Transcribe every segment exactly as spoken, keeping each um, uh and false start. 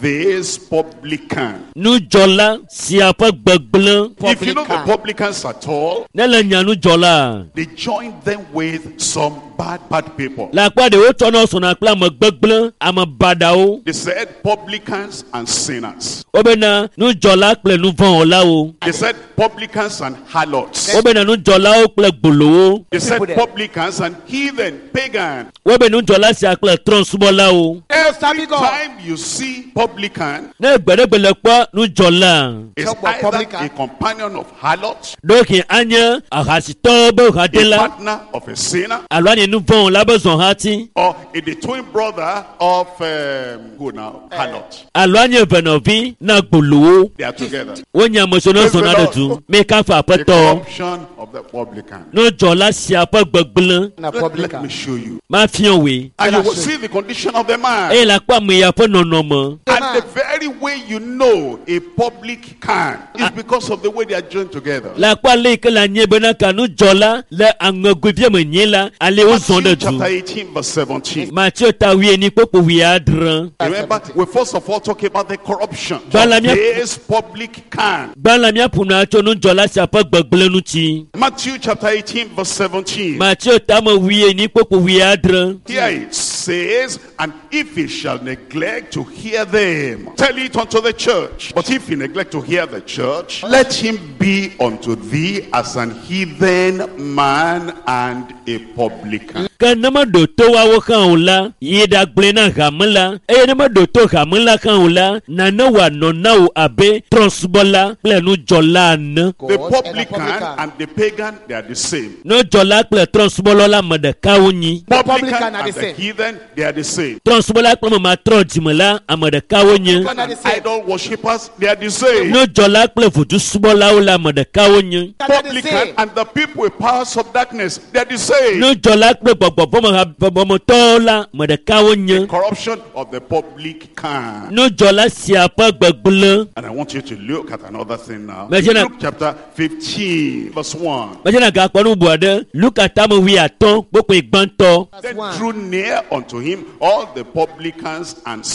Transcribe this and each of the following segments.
this publican. Nudzɔla sia ƒe gbegblẽ. If you know the publicans at all, Ne le nya nudzɔla, they join them with some bad, bad people. le akpa ɖewo tsɔna sɔna kple ame gbegblẽ, ame baɖawo. They said publicans and sinners. Wobena nudzɔla kple nuvɔ̃wɔlawo. They said publicans and harlots. Wobena nudzɔlawo kple gbolowo. They said People there. publicans and heathen, pagan. Wobe nudzɔla sia kple trɔ̃subɔlawo. Every God. time you see publican, Ne gbe ɖe gbe le kpɔ nudzɔla, it's Talk about either publican. a companion of harlots, ɖewohĩ anye ahasitɔwo be a hadela partner of a sinner, alo anye nuvɔ̃wɔla be zɔhati or a the twin brother of um, who now? Harlot. alo anye venɔvi na gbolowo. They are together. Wonye ame siwo ne zɔna ɖe du. Mi kafu The aƒetɔ. corruption of the publican. Nudzɔla sia ƒe gbegblẽ Na Let, let publican. me show you. mafia wòe. And you will see the condition of the man. Eye le akpɔ ame ya ƒe nɔnɔme. And the very way you know a public can is because of the way they are joined together. Le akpɔ ale yi ke le anye bena ka nudzɔla le aŋegoevia me nyi la, ale wozɔ Matthew ɖe du. chapter eighteen, verse seventeen. Mateo ta wuienyi kpokpo wuiadre. Remember, we first of all talk about the corruption. of Bala- This public can. Gbã la míaƒo nu atso nudzɔla sia ƒe gbegblẽ ŋuti. Matthew chapter eighteen, verse seventeen. Mateo ta me wuienyi kpokpo wuiadre. Here it says, and if he shall neglect to hear them, tell it unto the church. But if he neglect to hear the church, let him be unto thee as an heathen man and a publican. Ke ne meɖo to woawo hã o la, yi ɖagblɔe na hame la, eye ne meɖo to hame la hã o la, nane wòanɔ na wò abe trɔ̃subɔla kple nudzɔla ene. The God and a publican publican. and the pagan, they are the same. Nudzɔla kple trɔ̃subɔla la ame ɖeka wonyi. The Publican publican are and the the same. heathen, they are the same. Trɔ̃subɔla kple ame matrɔ dzime la, ame ɖeka wonye. Publican are And the same. idol worshippers, they are the same. Nudzɔla kple vodusubɔlawo la ame ɖeka wonye. Are the Publican same. and the people with powers of darkness, they are the same. Nudzɔla kple gbɔgbɔvɔmɔtɔwo la ame ɖeka wonye. Corruption of the public can. Nudzɔla sia ƒe gbegblẽ. And I want you to look at another thing now. Imagine a- Luke chapter fifteen, verse one. Medzena gakpɔ nu bubu aɖe. Luka tame wuiatɔ̃ kpokpoe gbãtɔ. Verse Then one. drew near unto him all the publicans and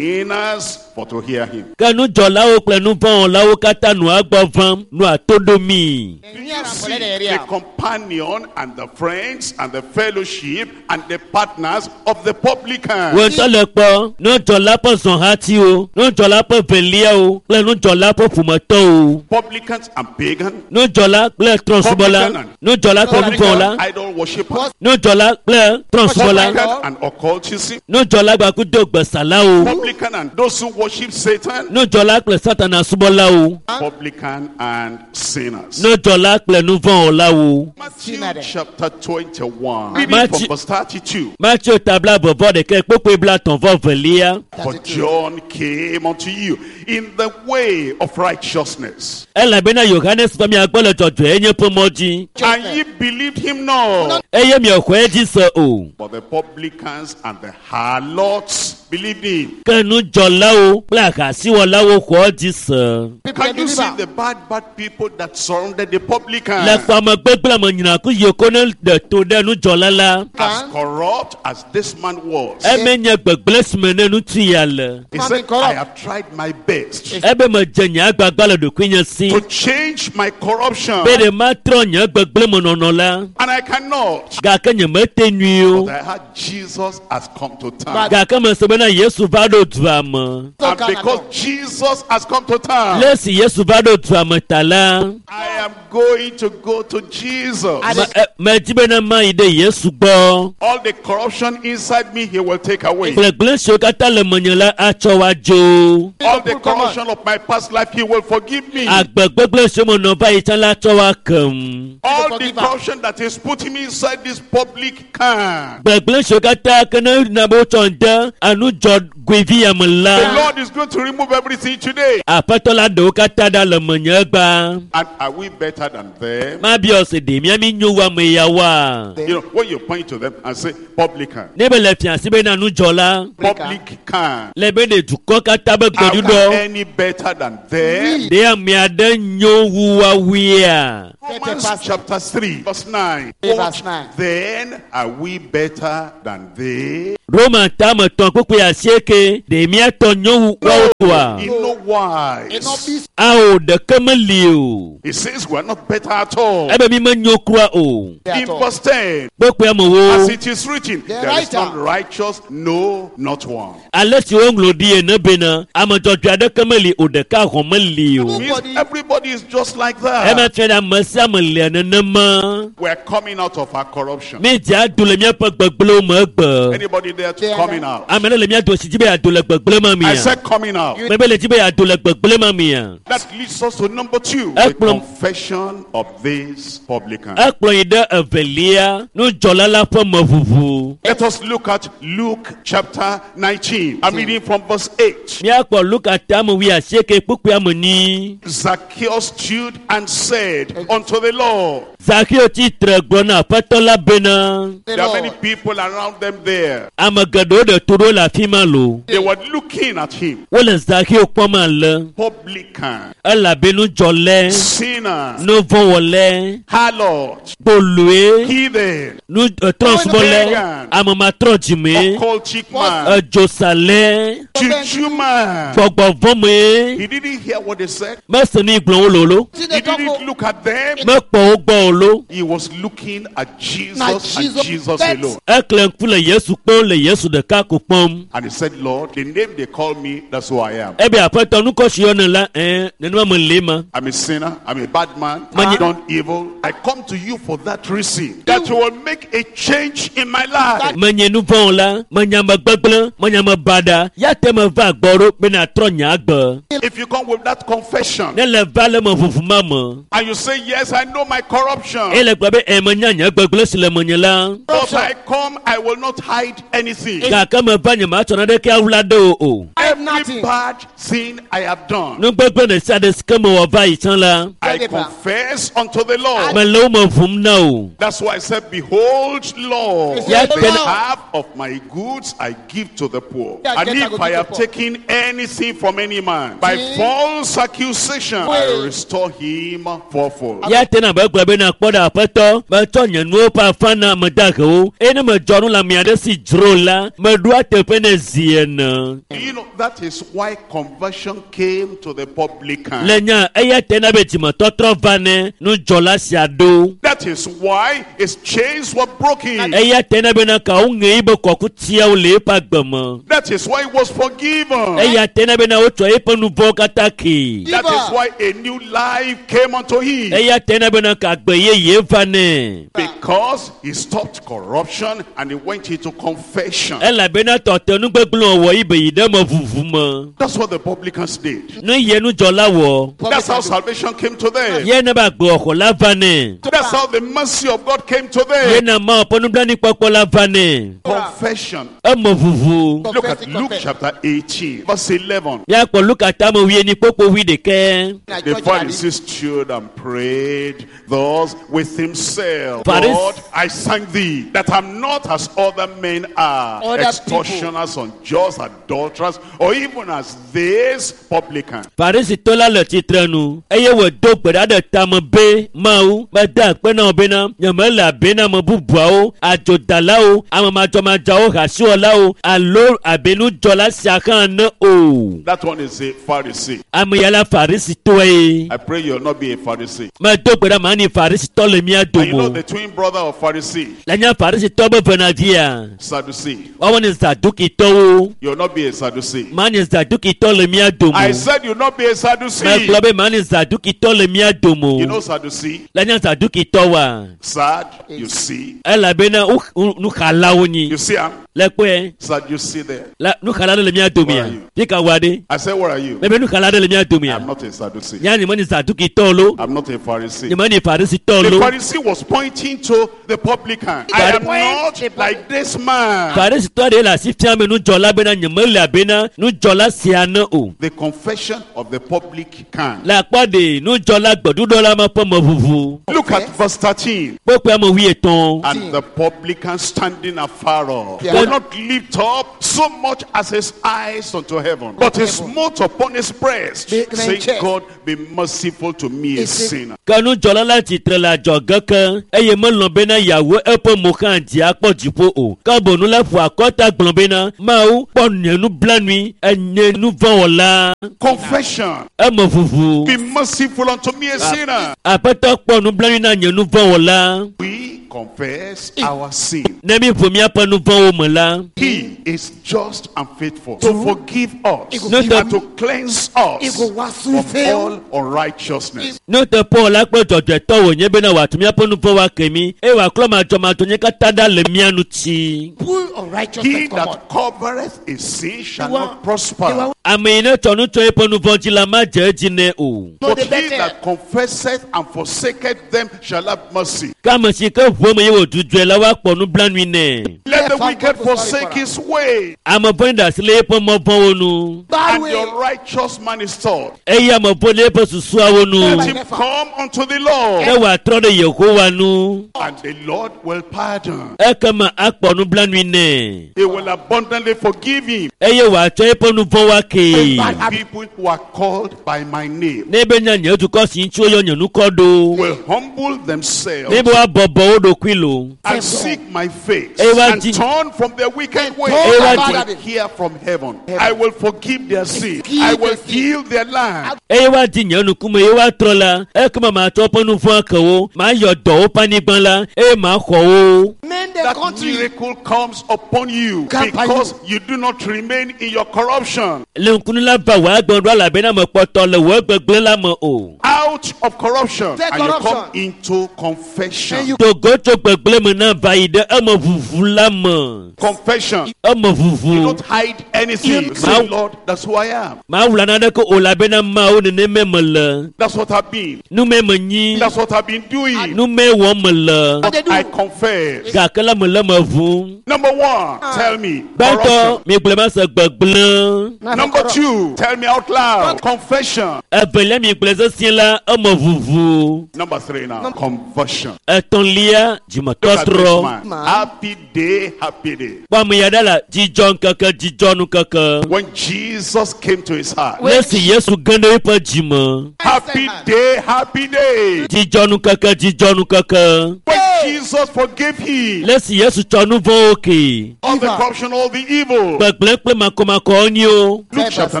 sinners for to hear him. Ke nudzɔlawo kple nuvɔ̃wɔlawo katã nɔa gbɔ vam nɔa to ɖomi. Do you see the companion and the friends and the fellowship and the partners of the publican? Wò ŋutɔ le kpɔ nudzɔla ƒe zɔhatiwo, nudzɔla ƒe veliawo kple nudzɔla ƒe ƒometɔwo. Publicans and pagan, Nudzɔla kple trɔ̃subɔla, nudzɔla kple nuvɔ̃wɔla, publican idol worshippers, nudzɔla kple trɔ̃subɔla, publican and occultism, nudzɔla gbakudo gbesalawo, publican and those who worship Satan, nudzɔla kple satana subɔlawo, publican and sinners. nudzɔla kple nuvɔ̃wɔlawo. Matthew Sinner. chapter twenty-one, reading Matthew- from verse thirty-two. Mateo ta blaeve vɔ ɖeka kpokpoe blaetɔ̃ vɔ velia. For John came unto you in the way of righteousness, Elabena Yohanes va mia gbɔ le dzɔdzɔenye ƒe mɔ dzi and ye believed him not. eye miexɔe dzi se o. But the publicans and the harlots believed him. Ke nudzɔlawo kple ahasiwɔlawo xɔ dzi se. People Can you see believer. the bad, bad people that surrounded the Le publican? kpɔ ame gbegblẽ ame nyinaku yiwo ko ne ɖe to ɖe nudzɔla la, As corrupt as this man was, eme nye gbegblẽ si me ne ŋutsu ya le. he Man said, been corrupt. I have tried my best Ebe medze nye agbagba le ɖokuinye si to change my corruption, be ɖe matrɔ nye gbegblẽ me nɔnɔ la, and I cannot. gake nyemete nyui o. But I heard Jesus has come to town. Gake mese bena Yesu va ɖo dua me. And because Jesus has come to town, Le esi Yesu va ɖo dua me ta la, I am going to go to Jesus. I me- e- medi bena mayi ɖe Yesu gbɔ. All the corruption inside me, he will take away. Gblegblẽ siwo katã le menye la atsɔ wa dzo. All the corruption of my past life, he will forgive me. Agbe gbegblẽ siwo menɔ va yi tsã la atsɔ wa kem. All the Forgive her. corruption that is putting me inside this public can. Gbegblẽ siwo katã ke ne na be wotsɔ ŋde anudzɔgoevi ya me The la, Lord is going to remove everything today. Aƒetɔ la ɖewo katã ɖa le menye egba. And are we better better than them? Mabiɔ se ɖe mía mi nyo wu ame ya woa? You know, when you point to them and say, publican, Ne be le fia si bena nudzɔla publican, le be ne dukɔ katã be are we gbeɖuɖɔ any better than them? ɖe ame aɖe nyo wu woawoea? Romans chapter three, verse nine. Verse What nine. then are we better than they? Roma tame tɔn kpukpui asieke ɖe míatɔ nyo wu woawo toa? In no wise. Ao ɖeke meli o. He says we are not better at all. Ebe mi menyo kura o. In verse ten, Kpukpui amewo as it is written, The there is writer. none righteous, no, not one. ale si woŋlɔ ɖi ene bena ame dzɔdzɔe aɖeke meli o ɖeka hɔn meli o. Means Nobody- everybody is just like Ema that. fia ɖe ame sia ame lia nenema. We are coming out of our corruption. Mi dze ado le míaƒe gbegblẽwo me egbe. Anybody there to There. coming out? Ame ɖe le mía do si dzi be yeado le gbegblẽ ma I mia. said coming out. Mebe le dzi be yeado le gbegblẽ ma mia. That leads us to number two, the Ekplɔ- confession of this publican. Ekplɔ yi ɖe evelia nudzɔla la ƒe meʋuʋu. Let us look at Luke chapter nineteen. I'm reading from verse eight. Míakpɔ Luka tame wuiasieke kpukpui ame enyi. Zacchaeus stood and said unto the Lord, Zakeo tsitre gblɔ na aƒetɔ la bena The there are many Lord. people around them there. ame geɖewo ɖe to ɖo le afi ma lo. They were looking at him. Wole Zakeo kpɔm ale Publican, elabe nudzɔlɛ, sinner, nuvɔ̃wɔlɛ, harlot, kpoloe, heathen, nu trɔsubɔlɛ, ame matrɔ dzime, occultic man, edzosalɛ, juju man. gbɔgbɔvɔ̃me. He didn't hear what they said. Mese nu yi gblɔm wole o lo, He didn't look at them. mekpɔ wo gbɔ o lo. He was looking at Jesus Na and Jesus Jesus bet. alone. Ekle ŋku le Yesu kpɔm le Yesu ɖeka ko kpɔm. And he said, Lord, the name they call me, that's who I am. Ebe aƒetɔ nukɔsi yɔne la, ɛɛ nenema me le ma. I'm a sinner. I'm a bad man. Manye- I've done evil. I come to you for that reason. That you will make a change in my life. Menye nuvɔ̃ la, menye ame gbegblẽ, menye ame baɖa. Ya te meva gbɔ ɖo be nàtrɔ nye agbe. If you come with that confession Ne le va le me ʋuʋu ma me, and you say, yes, I know my corruption. eye le gblɔ be ɛ menya nye gbegblẽ si le menye la. But I come, I will not hide anything. Gake meva nye matsɔ naneke awla ɖe o o. Hide Every nothing. bad thing I have done, Nu gbegblẽ ɖe sia ɖe si ke mewɔ va yi tsã la, I confess unto the Lord. mele wo me ʋum na o. That's why I said, Behold, Lord, Yeah, the can- half of my goods I give to the poor. Yeah, And get I if go I give have to poor. taken anything from any man by See? false accusation, I Wait. restore him fourfold. Ya te na be gblɔ be na kpɔ ɖe aƒetɔ metsɔ nye nuwo ƒe afã na ame dahewo eye ne medzɔ nu le ame aɖe si dzro la meɖoa teƒe ne zi ene. You know, that is why conversion came to the publican. Le nya eya te na be dzimetɔtrɔ va ne nudzɔla sia ɖo. That is why his chains were broken. Eya te na bena kawo ŋe yibe kɔkutiawo le eƒe agbe me. That is why he was forgiven. Eya te na bena wotsɔ eƒe nu vɔ̃wo katã kee. That is why a new life came unto him. Eya te na bena ka agbe yeye va nɛ. Because he stopped corruption and he went into confession. Elabena tɔte nugbegblẽ wɔwɔ yi be yi ɖe me ʋuʋu me. That's what the publicans did. Nu ye nudzɔla wɔ. That's how salvation came to them. Ye ne be agbewɔxɔ la va nɛ. That's how the mercy of God came to Ye them. na Mawu ƒe nublanuikpɔkpɔ la va nɛ. Confession. Eme ʋuʋu. Look at Confess, Luke confess. chapter eighteen, verse eleven. Míakpɔ Luka tame wuienyi kpokpo wuiɖekɛ. The Pharisee stood and prayed thus with himself. Pharis- God, I thank thee that I'm not as other men are, Other extortioners, unjust, adulterers, or even as this publican. Farisitɔ la le tsitre nu eye wòdo gbe ɖa ɖe tame be Mawu mede akpe na wò bena nyemele abe na ame bubuawo, adzodalawo, ame madzɔmadzɔawo, hasiwɔlawo alo abe nudzɔla sia hã ene o. That one is a Pharisee. Ame ya la Farisitɔe. I pray you'll not be a Pharisee. Medo gbe ɖa manyi Farisitɔ le mía And you know dome o. the twin brother of Pharisee, Le nye Farisitɔ be venavia, Sadducee. woawo nye Zadukitɔwo. You'll not be a Sadducee. Manyi Zadukitɔ le mía dome I o. said you'll not be a Sadducee. Megblɔ be manyi Zadukitɔ le mía dome You know o. Sadducee? Le nye They tɔ wa Sad, you see. elabena wo wo- nuxalawo nyi You see, I'm le kpɔe sad, you see there. la nuxala ɖe le mía domea Where are you? fi ka wa ɖe I said, Where are you? mebe nuxala ɖe le mía domea I'm not a Sadducee. nya nye me ni zadukitɔ lo I'm not a Pharisee. nye me ni farisitɔ The lo Pharisee was pointing to the publican. I am not like this man. farisitɔ ɖe le asi fia me nudzɔla bena nye me le abena nudzɔla sia ne o The confession of the publican. le akpɔ ɖe nudzɔla gbeɖuɖɔ la me ƒe meʋuʋu Look at verse thirteen. kpokpe ame wuietɔ̃ And the publican standing afar off Yeah. would not lift up so much as his eyes unto heaven, but he smote upon his breast, Be- saying, chest. God, be merciful to me, a Is it- sinner. ke nudzɔla la tsitre le adzɔge ke eye melɔ̃ bena yeawo eƒe mo hã dzi akpɔ dziƒo o ke bonu la ƒo akɔta gblɔ bena mawu kpɔ nye nublanui enye nuvɔ̃wɔla Confession. eme ʋuʋu Be merciful unto me, a sinner. aƒetɔ kpɔ nublanui na nye nuvɔ̃wɔla We confess our sin. ne mi ʋu míaƒe nuvɔ̃wo me la He is just and faithful to forgive us No, the- and to cleanse us Ego wasu from all unrighteousness. nuteƒewɔla kple dzɔdzɔetɔ wònye bena wòatu míaƒe nuvɔ̃wo ake mí eye wòaklɔ madzɔmadzɔ nye katã ɖa le mía ŋuti Pull unrighteousness He come on. that covereth his sin shall The one- not prosper. the one- ame yi ne tsɔ nu tsɔ eƒe nuvɔ̃ dzi la madze edzi nɛ o No, But the he better. that confesseth and forsaketh them shall have mercy. ke ame si ke ʋu eme ye wòdzudzɔe la woakpɔ nublanui nɛ Let the Therefore, wicked God will sorry forsake for his way, ame vɔ̃ɖi ɖe asi le eƒe mɔ vɔ̃wo nu Bad and way. the unrighteous man is taught. eye ame vɔ̃ɖi le eƒe susuawo nu Let him come unto the Lord, ne wòatrɔ ɖe yehowa nu and the Lord will pardon. ekema akpɔ nublanui nɛ He will abundantly forgive him. eye wòatsɔ eƒe nuvɔ̃wo akee Bad People who are called by my name ne be nya nye dukɔ si ŋuti woyɔ nye nukɔ ɖo will humble ne themselves be woabɔbɔ wo ɖokui lo and seek my face Ewa and di- turn from their wicked ways. turn I about will it. hear from heaven. I will forgive their sin. Forgive I will their sin. heal their land. eye woadi nye nukume ye woatrɔ la ekema matsɔ woƒe nuvɔ̃ ake wo mayɔ dɔ woƒe anyigba la eye maxɔ wo Mend the That country. miracle comes upon you Come upon because you do not remain in your corruption. le ŋkunu la va wò agbe ɖo elabena mekpɔtɔ le wò gbegblẽ la me o Out of corruption Take and you come corruption. into confession. And you- togo tso gbegblẽ me na va yi ɖe eme ʋuʋu la me Confession. eme ʋuʋu You don't hide anything. You say, Lord, that's who I am. mawula naneke o elabena mawu nenemae mele That's what I've been. nume menyi That's what I've been doing. nume wɔm mele But They do. I confess. gake la mele me ʋum Number one, tell me. gbãtɔ Corruption. migblẽ ma se gbegblẽ Now for Number corrupt. two, tell me out loud. Confession. evelia migblẽ sesĩe la eme ʋuʋu Number three now, conversion. etɔ̃lia Look at this dzimetɔtrɔ man. Man. Happy day, happy day. kpɔ ame ya ɖa la dzidzɔ ŋkeke dzidzɔ nukeke When Jesus came to his heart. ne si yesu ge ɖe eƒe dzime Happy day, happy day. dzidzɔ nukeke dzidzɔ nukeke When Jesus forgave him le si yesu tsɔ nu vɔ̃wo ke all the Evil. corruption, all the evil. gbegblẽ kple makɔmakɔwo nyo Luke chapter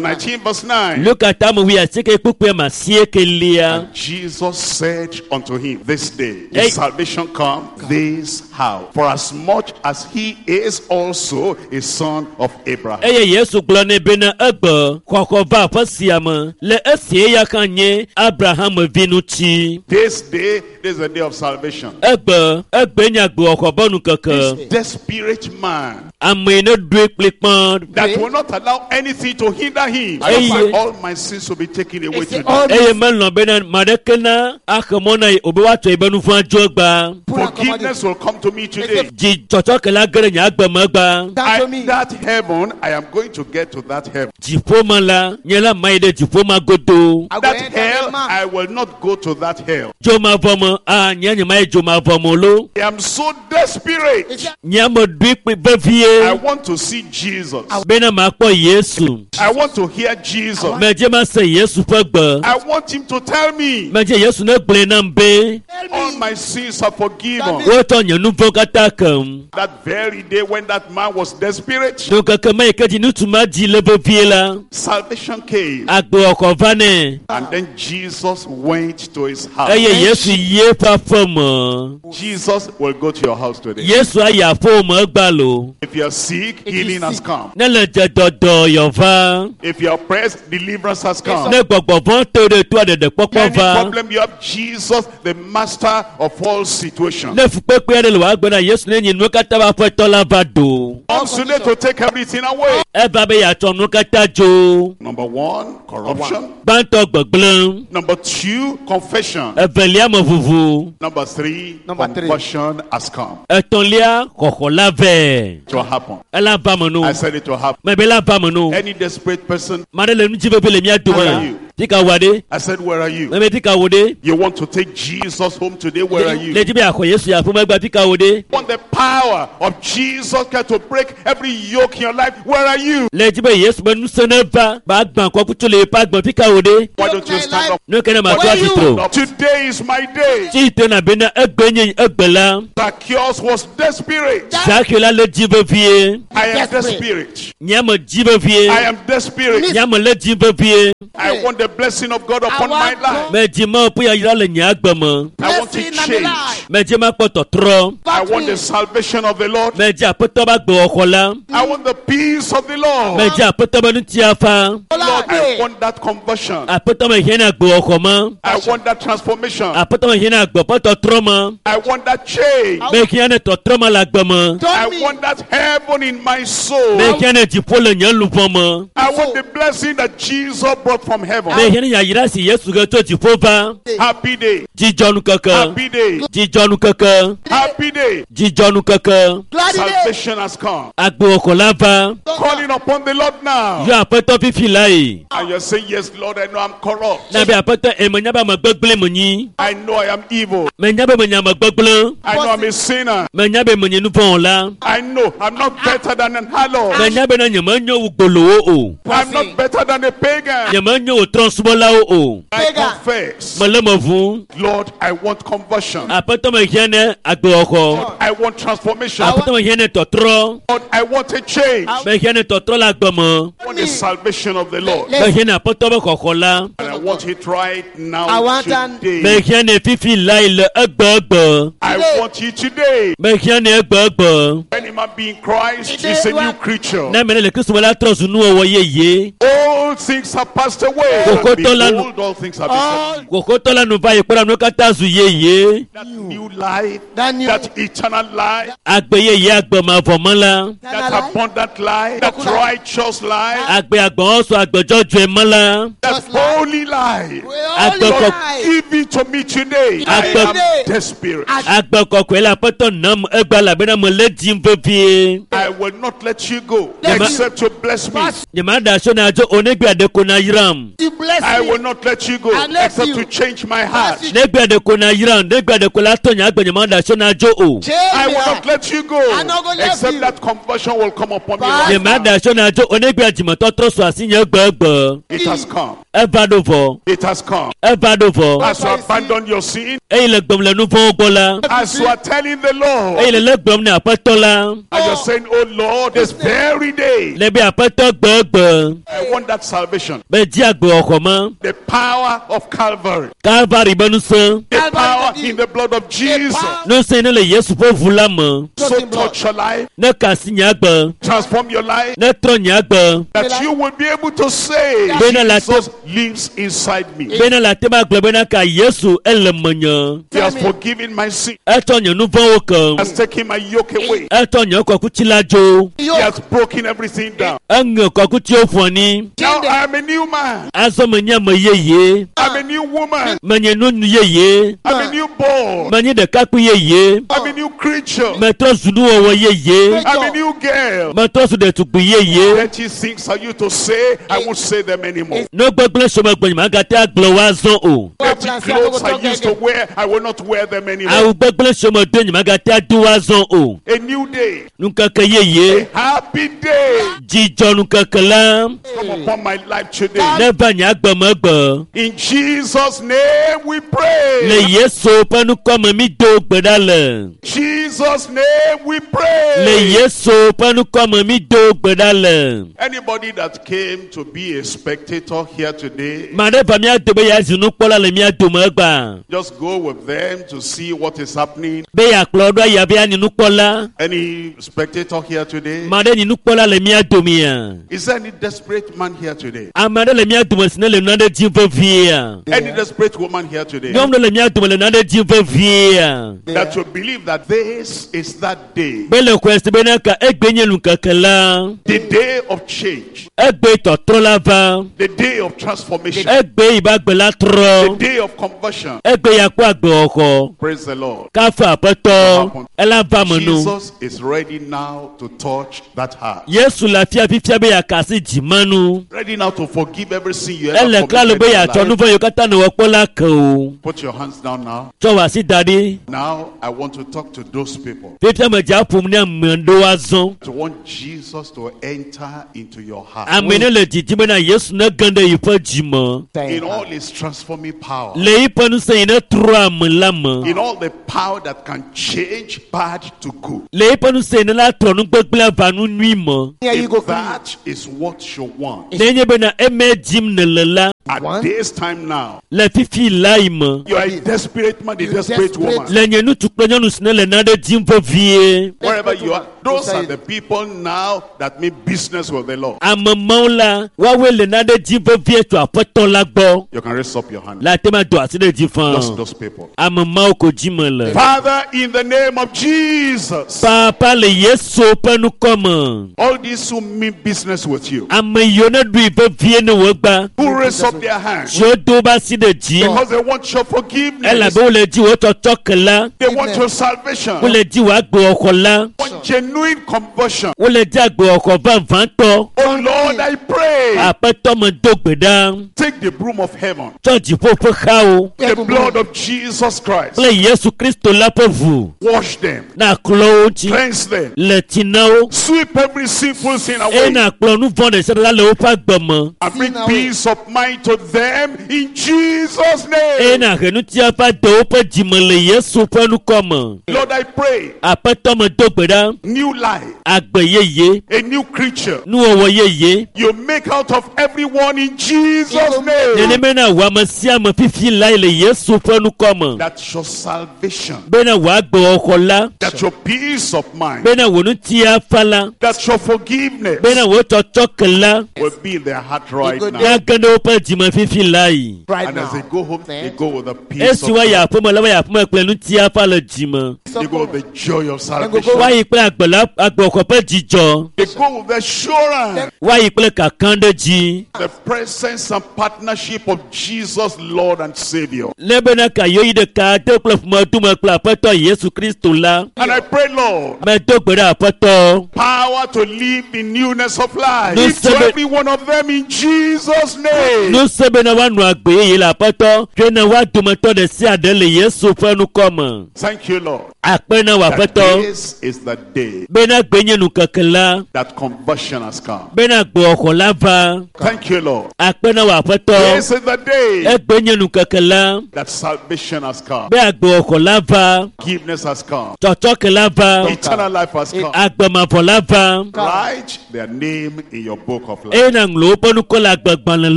nineteen, verse nine. luka tame wuiasieke kpukpui ma asiekelia And Jesus said unto him, This day Hey. is salvation come this house, for as much as he is also a son of Abraham. eye yesu gblɔ nɛ bena egbe xɔxɔ va aƒe sia me le esi eya hã nye abraham vi ŋuti This day, this is the day of salvation. egbe egbe nye agbewɔxɔ be nukeke Desperate man ame yi ne ɖoe kplikpã that will not allow anything to hinder him. I Hey. want all my sins to be taken away It's today. all eye melɔ̃ bena ame aɖeke na axe mɔ na ye o be woatsɔ yi be nu vɔ̃ adzo egba Pull out Forgiveness will come to me today. dzi tsɔtsɔke la ge ɖe nye agbe me egba Down to I, me. that heaven, I am going to get to that heaven. dziƒo me la nye la ma yi ɖe dziƒo ma godo I go That enter hell, the man. I will not go to that hell. dzomavɔ me a nye nye ma yi dzomavɔ me o lo I am so desperate. It's a- nye ame ɖoe kpli I vevie want to see Jesus. bena makpɔ yesu I want to hear Jesus. medze ma se yesu ƒe gbe I want him to tell me medze yesu ne gblɔe nam be Tell all me. my sins are forgiven. wotsɔ nye nu vɔ̃ katã kem That very day when that man was desperate, nukeke ma yi ke dzi ŋutsu ma dzi le vevie la salvation came. agbewɔxɔ va nɛ And then Jesus Jesus went to his house. Eye Yesu yi eƒe aƒe me. Jesus will go to your house today. Yesu ayi aƒewò me egbea lo. If you are sick, healing has come. Ne le dze dɔdɔ yɔva. If you are oppressed, deliverance has come. Ne gbɔgbɔvɔ te ɖe toa ɖeɖekpɔkpɔ Any va. problem you have, Jesus, the master of all situations. Ne fukpekpe aɖe le wò agbe na Yesu ne nyi nuwo katã ƒe aƒetɔ la va do. Comes today to take everything away. Eva be yeatsɔ nuwo katã dzo. Number one, corruption. Gbãtɔ gbegblẽ. Number two, confession. Evelia me vuvu. Number three, Number three. conversion has come. Etɔ̃lia xɔxɔ la vɛ. It will happen. Ela va me no. I said it will happen. Mebe la va me no. Any desperate person, Ma ɖe le nu dzi vevie le mía Where are dome. you? Fi ka wòa ɖe? I said, where are you? Mebe fi ka wò ɖe? You want to take Jesus home today? Where are Le you? dzi be yeaxɔ Yesu yi aƒeme egbea fi ka wò ɖe? Want the power of Jesus Christ to break every yoke in your life? Where are you? Le dzi be Yesu be ŋusẽ ne va ba gbã kɔkutsu le yeƒe agbe fi ka wò ɖe? Why don't you stand up? Nu ke ne ma Where tɔ are you? atsitre o. Today is my day. Tsi te na bena egbe nye egbe la. Zacchaeus was desperate. Zakeo la le dzi vevie. I am Desperate. desperate. Nye me dzi vevie. I am desperate. Nye me le dzi vevie. I want the blessing of God upon my want life. Me dzi Mawu ƒe yayra le nye agbe me. I want to Blessing and change. life. Me dzi makpɔ tɔtrɔ. I want the salvation of the Lord. Me dzi aƒetɔ be agbewɔxɔ la. I want the peace of the Lord. Me dzi aƒetɔ be ŋutiafa. Lord, I want that conversion. Aƒetɔ me hiã na agbewɔxɔ ma. I want that transformation. Aƒetɔ me hiã na agbe ƒe tɔtrɔ ma. I want that change. Me hiã ne tɔtrɔ ma le agbe me. I Turn me. want that heaven in my soul. Me hiã ne dziƒo le nye luʋɔ me. I want the blessing that Jesus brought from heaven. Me hiã ne yayra si Yesu he tso dziƒo va. Happy day. Dzidzɔnukeke. Happy day. Dzidzɔnukeke. Happy day. Dzidzɔnukeke. Glad day. Salvation has come. Agbewɔxɔ la va. Calling upon the Lord now. Yɔ aƒetɔ fifi la yi. And you're saying, Yes, Lord, I know I'm corrupt. Na be aƒetɔ eme nya be ame gbegblẽ menyi. I know I am evil. Menya be menye ame gbegblẽ. I know I'm a sinner. Menya be menye nuvɔwɔla. I know I'm not better than an harlot. Menya be na nyemenyo wu gbolowo o. I'm not better than a pagan. Nyemenyo wu trɔ̃subɔlawo o. I Pagan. confess. Mele me ʋum. Lord, I want conversion. Aƒetɔ me hiã ne agbewɔxɔ. I want transformation. Aƒetɔ me hiã ne tɔtrɔ. Lord, I want a change. I Me hiã ne tɔtrɔ le agbe me. want the salvation of the Lord. Me hiã ne aƒetɔ be xɔxɔ la. And I want it right I now want an- Me today. hiã ne fifi la yi le egbe egbe. I want it today. Me hiã ne egbe egbe. Any man be in Christ is a new creature. Ne ame ɖe le Kristo me la trɔ zu nuwɔwɔ yeye. All things have passed away. Koko tola- Behold, all things have become Kòkótɔ la nu va yi kpɔ ɖa nuwo katã zu yeye. that new life, That new- that eternal life, Agbe yeye agbe mavɔ me la. that abundant life, that righteous life, Agbe agbɔnsɔ agbe dzɔdzɔe me la. that Just life. holy life. Holy Agbe life. Give it to me today. I Agbe- am desperate. Agbe kɔkɔe le aƒetɔ nam egbe elabena mele dzim vevie. I will not let you go Let you- except you bless me. Nyemaɖe asi na dzo o negbe aɖe ko na yram. You bless I me. will not let you go Unless except you- to change my heart. Bless you. Negbe aɖe ko na yram, negbe aɖe ko la tɔ nye agbe nyemaɖe asi na dzo o. Change I me will not heart. let you go I'm not gonna let except you. that conversion will come upon me. Bye. Right now. Nyemaɖe asi na dzo o negbe dzimetɔtrɔ su asi nye egbe egbe. It has come. Eva ɖo vɔ. It has come. Eva ɖo vɔ. As you abandon your sin, Eye le gbem le nu vɔ̃wo gbɔ la. as you are telling the Lord, Eye le le gblɔm ne aƒetɔ la. and you're saying, Oh Lord, this very day, Le be aƒetɔ gbe egbe. I want that salvation. Be dzi agbe xɔxɔ ma. The power of Calvary, Kalvari be ŋusẽ. the Calvary power the- in the blood of Jesus. Ŋusẽ ne le Yesu ƒe ʋu la me. So touch your life, Ne kasi nye agbe. transform your life, Ne trɔ nye agbe. that you will be able to say, Bena la- Jesus lives inside me. Bena le ate ma gblɔ bena ka Yesu ele menye. He has forgiven my sin, Etsɔ nye nu vɔ̃wo kem. has taken my yoke away, Etsɔ nye kɔkuti la dzo. he has broken everything down. Eŋe kɔkutiwo ƒo anyi. Now I am a new man, Azɔ menye ame yeye. I'm a new woman, Menye nyɔnu yeye. I'm a new born, Menye ɖekakpui yeye. I'm a new creature, Metrɔ zu nuwɔwɔ yeye. I'm a new girl. Metrɔ zu ɖetugbui yeye. Dirty things are you to say, I won't say them anymore. Nu gbegblẽ si megblɔ nye magate agblɔ wo azɔ o. Dirty clothes I used to wear, I will not wear them anymore. Awu gbegblẽ si medo nye magate ado wo azɔ o. A new day, Nukeke yeye. a happy day Dzidzɔ nukeke la. come upon my life today. Neva nye agbe me gbe. In Jesus' name we pray. Le Yesu ƒe ŋkɔ me mi do gbe ɖa le. Jesus' name we Le pray. Yesu ƒe ŋkɔ me mi do gbe ɖa le. Anybody that came to be a spectator here today? Ma ɖe va mía dome ya zi nukpɔla le mía dome egbea. Just go with them to see what is happening. Be yeakplɔ ɖo ayi abe anyi nukpɔla. Any spectator here today? Ma ɖe nyi nukpɔla le mía domea. Is there any desperate man here today? Ame aɖe le mía dome si ne le nane dim veviea. Any desperate woman here today? Nyɔnu ɖe le mía dome le nane dim veviea. That you believe that this is that day, Be le xɔe se bena ka egbe nye nukeke la. the day of change, Egbe tɔtrɔ la va. the day of transformation, Egbe yi be agbe la the trɔ. day of conversion. Egbe ya kpɔ agbewɔxɔ. Praise the Lord. Kafu aƒetɔ. Ela va me no. Jesus is ready now to touch that heart. Yesu le afia fifia be yeaka asi dzimanu. Ready now to forgive every sin you ever Ele klalo committed be in your yeatsɔ life. nu vɔ̃ yiwo katã nèwɔ kpɔ la ke o. Put your hands down now. Tsɔ wò asi da ɖi. Now I want to talk to those people Fifia me dza ƒom ne ame ɖewo azɔ. to want Jesus to enter into your heart Ame ne le didim bena Yesu ne ge ɖe yiƒe dzime. in all his transforming power, Le yiƒe ŋusẽ yi ne trɔ ame la me. in all the power that can change bad to good. Le yiƒe ŋusẽ yi ne la trɔ nugbegblẽ va nu nyui me. If that is what you want Nenye bena eme dim nèle la at this time now, le fifi la yi me. you are a desperate man, a desperate woman. Le nye ŋutsu kple nyɔnu si ne le nane dim vevie. Wherever you are, those are the people now that mean business with the Lord. Ame mawo la woawoe le nane dim vevie tso aƒetɔ la gbɔ. You can raise up your hand. Le ate ma do asi ɖe dzi Just fãa. those people. Ame mawo ko dzi me le. Father, in the name of Jesus, Papa le Yesu ƒe ŋkɔ me. all these who mean business with you, Ame yiwo ne ɖui vevie ne wògba. who raise up their hands Siwo do woƒe asi ɖe dzi. because they want your forgiveness, Elabe wole dzi wò tsɔtsɔ ke la. they want your salvation, they Wole dzi wò agbewɔxɔ la. want genuine conversion. Wole dzi agbewɔxɔ vavãtɔ. Oh Lord, I pray, Aƒetɔ me do gbe ɖa. take the broom of heaven, Tsɔ dziƒo ƒe xawo the blood of Jesus Christ, kple Yesu Kristo la ƒe ʋu. wash them, Na klɔ wo ŋuti. cleanse them, Le tsi na wo. sweep every sinful sin Eye away, na kplɔ nu vɔ̃ ɖe sia ɖe la le woƒe agbe me. and bring peace of mind to them in Jesus' Eye name. na he ŋutia va de woƒe dzime le Yesu ƒe ŋkɔ me. Lord, I pray, Aƒetɔ me do gbe ɖa. new life, Agbe yeye. a new creature. Nuwɔwɔ yeye. You make out of everyone in Jesus' name Nenema na wò ame sia ame fifi lae le Yesu ƒe ŋkɔ me. that your salvation, Bena wò agbewɔxɔ la. that your peace of mind, Bena wò ŋutia fa la. that your forgiveness Bena wò tsɔtsɔ ke la. will be in their heart right now. Nage ɖe woƒe dzime fifi lae. Right And as they now. go home, they go with the peace Esi of woayi God. aƒeme la, woayi aƒeme kple ŋutia fa le dzime. They go with the joy of salvation. Woayi kple agbe la agbewɔxɔ ƒe dzidzɔ. They go with the assurance, Woayi kple kakã ɖe dzi. the presence and partnership of Jesus, Lord and Savior. Ne bena ka yewo yi ɖeka de kple ƒomedume kple aƒetɔ Yesu Kristo la. And I pray, Lord, Medo gbe ɖe aƒetɔ. power to live in newness of life. No Give to seven- every one of them in Jesus' name. Ŋusẽ bena woanɔ agbe yeye le aƒetɔ. Tso ne woa dometɔ ɖe sia ɖe le Yesu ƒe ŋkɔ me. Thank you, Lord. Akpe na wò That aƒetɔ. this is the day Bena gbe nye nukeke la. that conversion has come. Bena gbewɔxɔ la va. Thank you, Lord. Akpe na wò aƒetɔ. This is the day Egbe nye nukeke la. that salvation has come. Be agbewɔxɔ la va. Forgiveness has come. Tsɔtsɔke la va. Eternal life has come. Agbemavɔ la va. Write their name in your book of life. Eye na ŋlɔ woƒe ŋkɔ le agbegbalẽ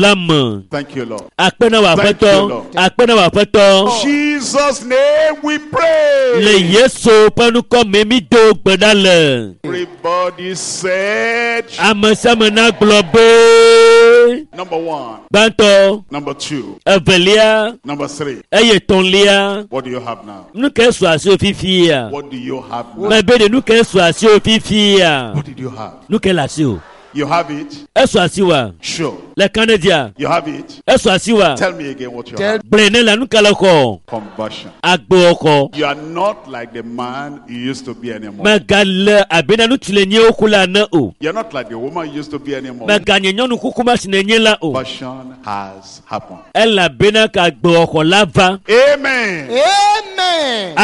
la me. Thank you, Lord. Akpe na wò Thank you, aƒetɔ. Lord. Akpe na wò aƒetɔ. Jesus' name we Le pray. Yesu ƒe ŋkɔ me mi do gbe ɖa le. Everybody said, Ame sia ame nagblɔ be. number one, Gbãtɔ, number two, evelia, number three. eye etɔ̃lia. What do you have now? Nu ke su asiwò fifia? What do you have now? Mebe ɖe nu ke su asiwò fifia? What did you have? Nu ke le asiwò? You have it? Esu asiwòa? Sure. Le kan ɖe dzia? You have it? Esu asiwòa? Tell me again what you Tell- have. Gblɔe ne la nu ka le xɔ? Conversion. Agbewɔxɔ. You are not like the man you used to be anymore. Megale abe na ŋutsu le nye woku la ene o. You're not like the woman you used to be anymore. Meganye nyɔnu kuku ma si nenye la o. Conversion has happened. Elabena ka agbewɔxɔ la va. Amen. Amen.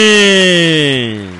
Amen.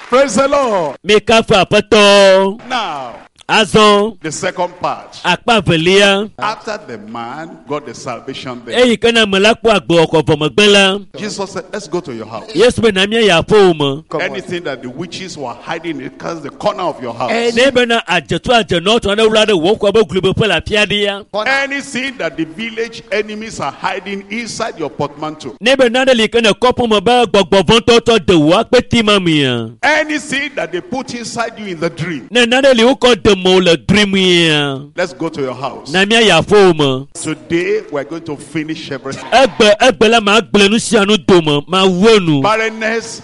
Praise the Lord. Mikafu aƒetɔ. Now, Azɔ The second part. akpa velia After the man got the salvation there, eyi ke na ame la kpɔ agbewɔkɔ vɔ megbe la Jesus said, Let's go to your house. yesu be na mía yi aƒewò me Anything that the witches were hiding in the corner of your house. ne bena adzetu adzenɔ tɔ aɖe wla ɖe wò xɔ be glubeƒe le afi aɖea Anything that the village enemies are hiding inside your portmanteau. ne be nane li ke ne kɔƒe me be gbɔgbɔvɔtɔwo tɔ de wò akpeti ma mea Anything that they put inside you in the dream. ne nane li wokɔ de mewò le drimia Let's go to your house. na mía yi aƒewò me Today we're going to finish everything. egbe egbe la ma gblẽ nu sia nu dome ma wu enu Barrenness,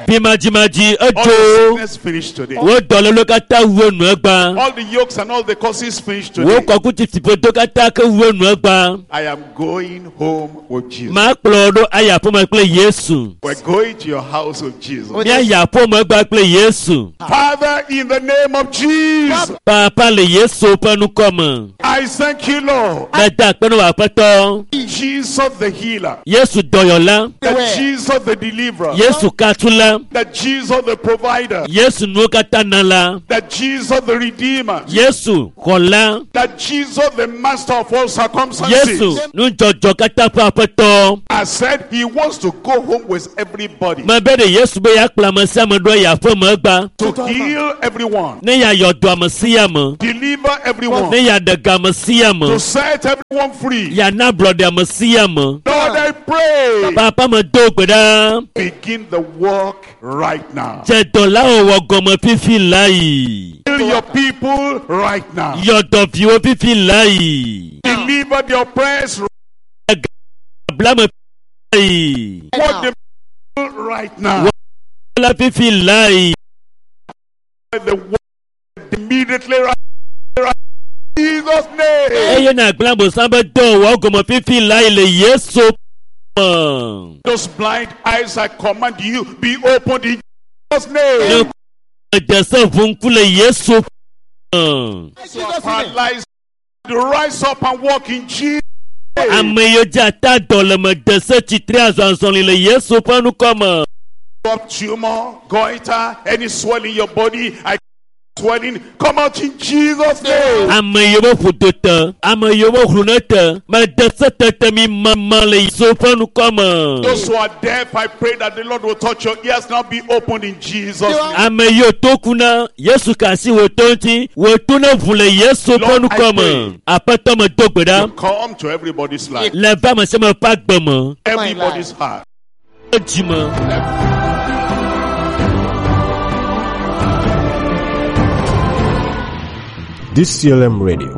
bimadzimadzi all the edzo sickness finished today. wo dɔléle katã wu enu egba All the yokes and all the curses finished wo today. kɔkuti katã ke wu enu egba I am going home with Jesus. ma kplɔ ɖo ayi aƒeme kple yesu We're going to your house with Jesus. míayi aƒeme egba kple yesu Father, in the name of Jesus, papa le yesu ƒe ŋkɔ me I thank you, Lord. meda akpe na wò aƒetɔ Jesus the healer, yesu dɔyɔla that Jesus the deliverer, yesu katula that Jesus the provider, yesu nuwo katã nala that Jesus the redeemer, yesu xɔla that Jesus the master of all circumstances. yesu nudzɔdzɔ katã ƒe aƒetɔ I said he wants to go home with everybody, mebe ɖe yesu be yeakplɔ ame sia ame ɖo ayi aƒeme egba to heal everyone, ne yeayɔ dɔ ame sia ame deliver everyone, ne yeaɖe ga ame sia ame to set everyone free. yeana ablɔɖe ame sia ame Lord, I pray. papa me do gbe ɖa Begin the work right now. dze dɔ la wɔwɔ gɔme fifi la yi Heal your people right now. yɔ dɔ viwo fifi la yi Deliver the oppressed. blame fi yi What the people right now. la fifi la yi The work immediately right, right. Jesus' name. eye na gblẽ abosam be dɔ wɔwɔ gɔme fifi la yi le yesu me Those blind eyes, I command you, be opened in Jesus' name. ne dze ʋu ŋku le yesu me Paralyzed, rise up and walk in Jesus. ame yiwo dze ata dɔ le me de se tsitre azɔazɔli le yesu ƒe ŋkɔ me Up tumor, goiter, any swelling in your body, I swelling, come out in Jesus' name. ame yiwo be ƒodo te ame yiwo be hlune ne te me de se tete mi mama le yesu ƒe ŋkɔ me Those who are deaf, I pray that the Lord will touch your ears now be opened in Jesus' name. ame yiwo to ku na yesu ka asi wò to ŋuti wò to ne ʋu le yesu ƒe Lord, I ŋkɔ me aƒetɔ me do gbe ɖa You come to everybody's life, le va ame sia ame ƒe agbe me everybody's heart. dzi me. D C L M Radio.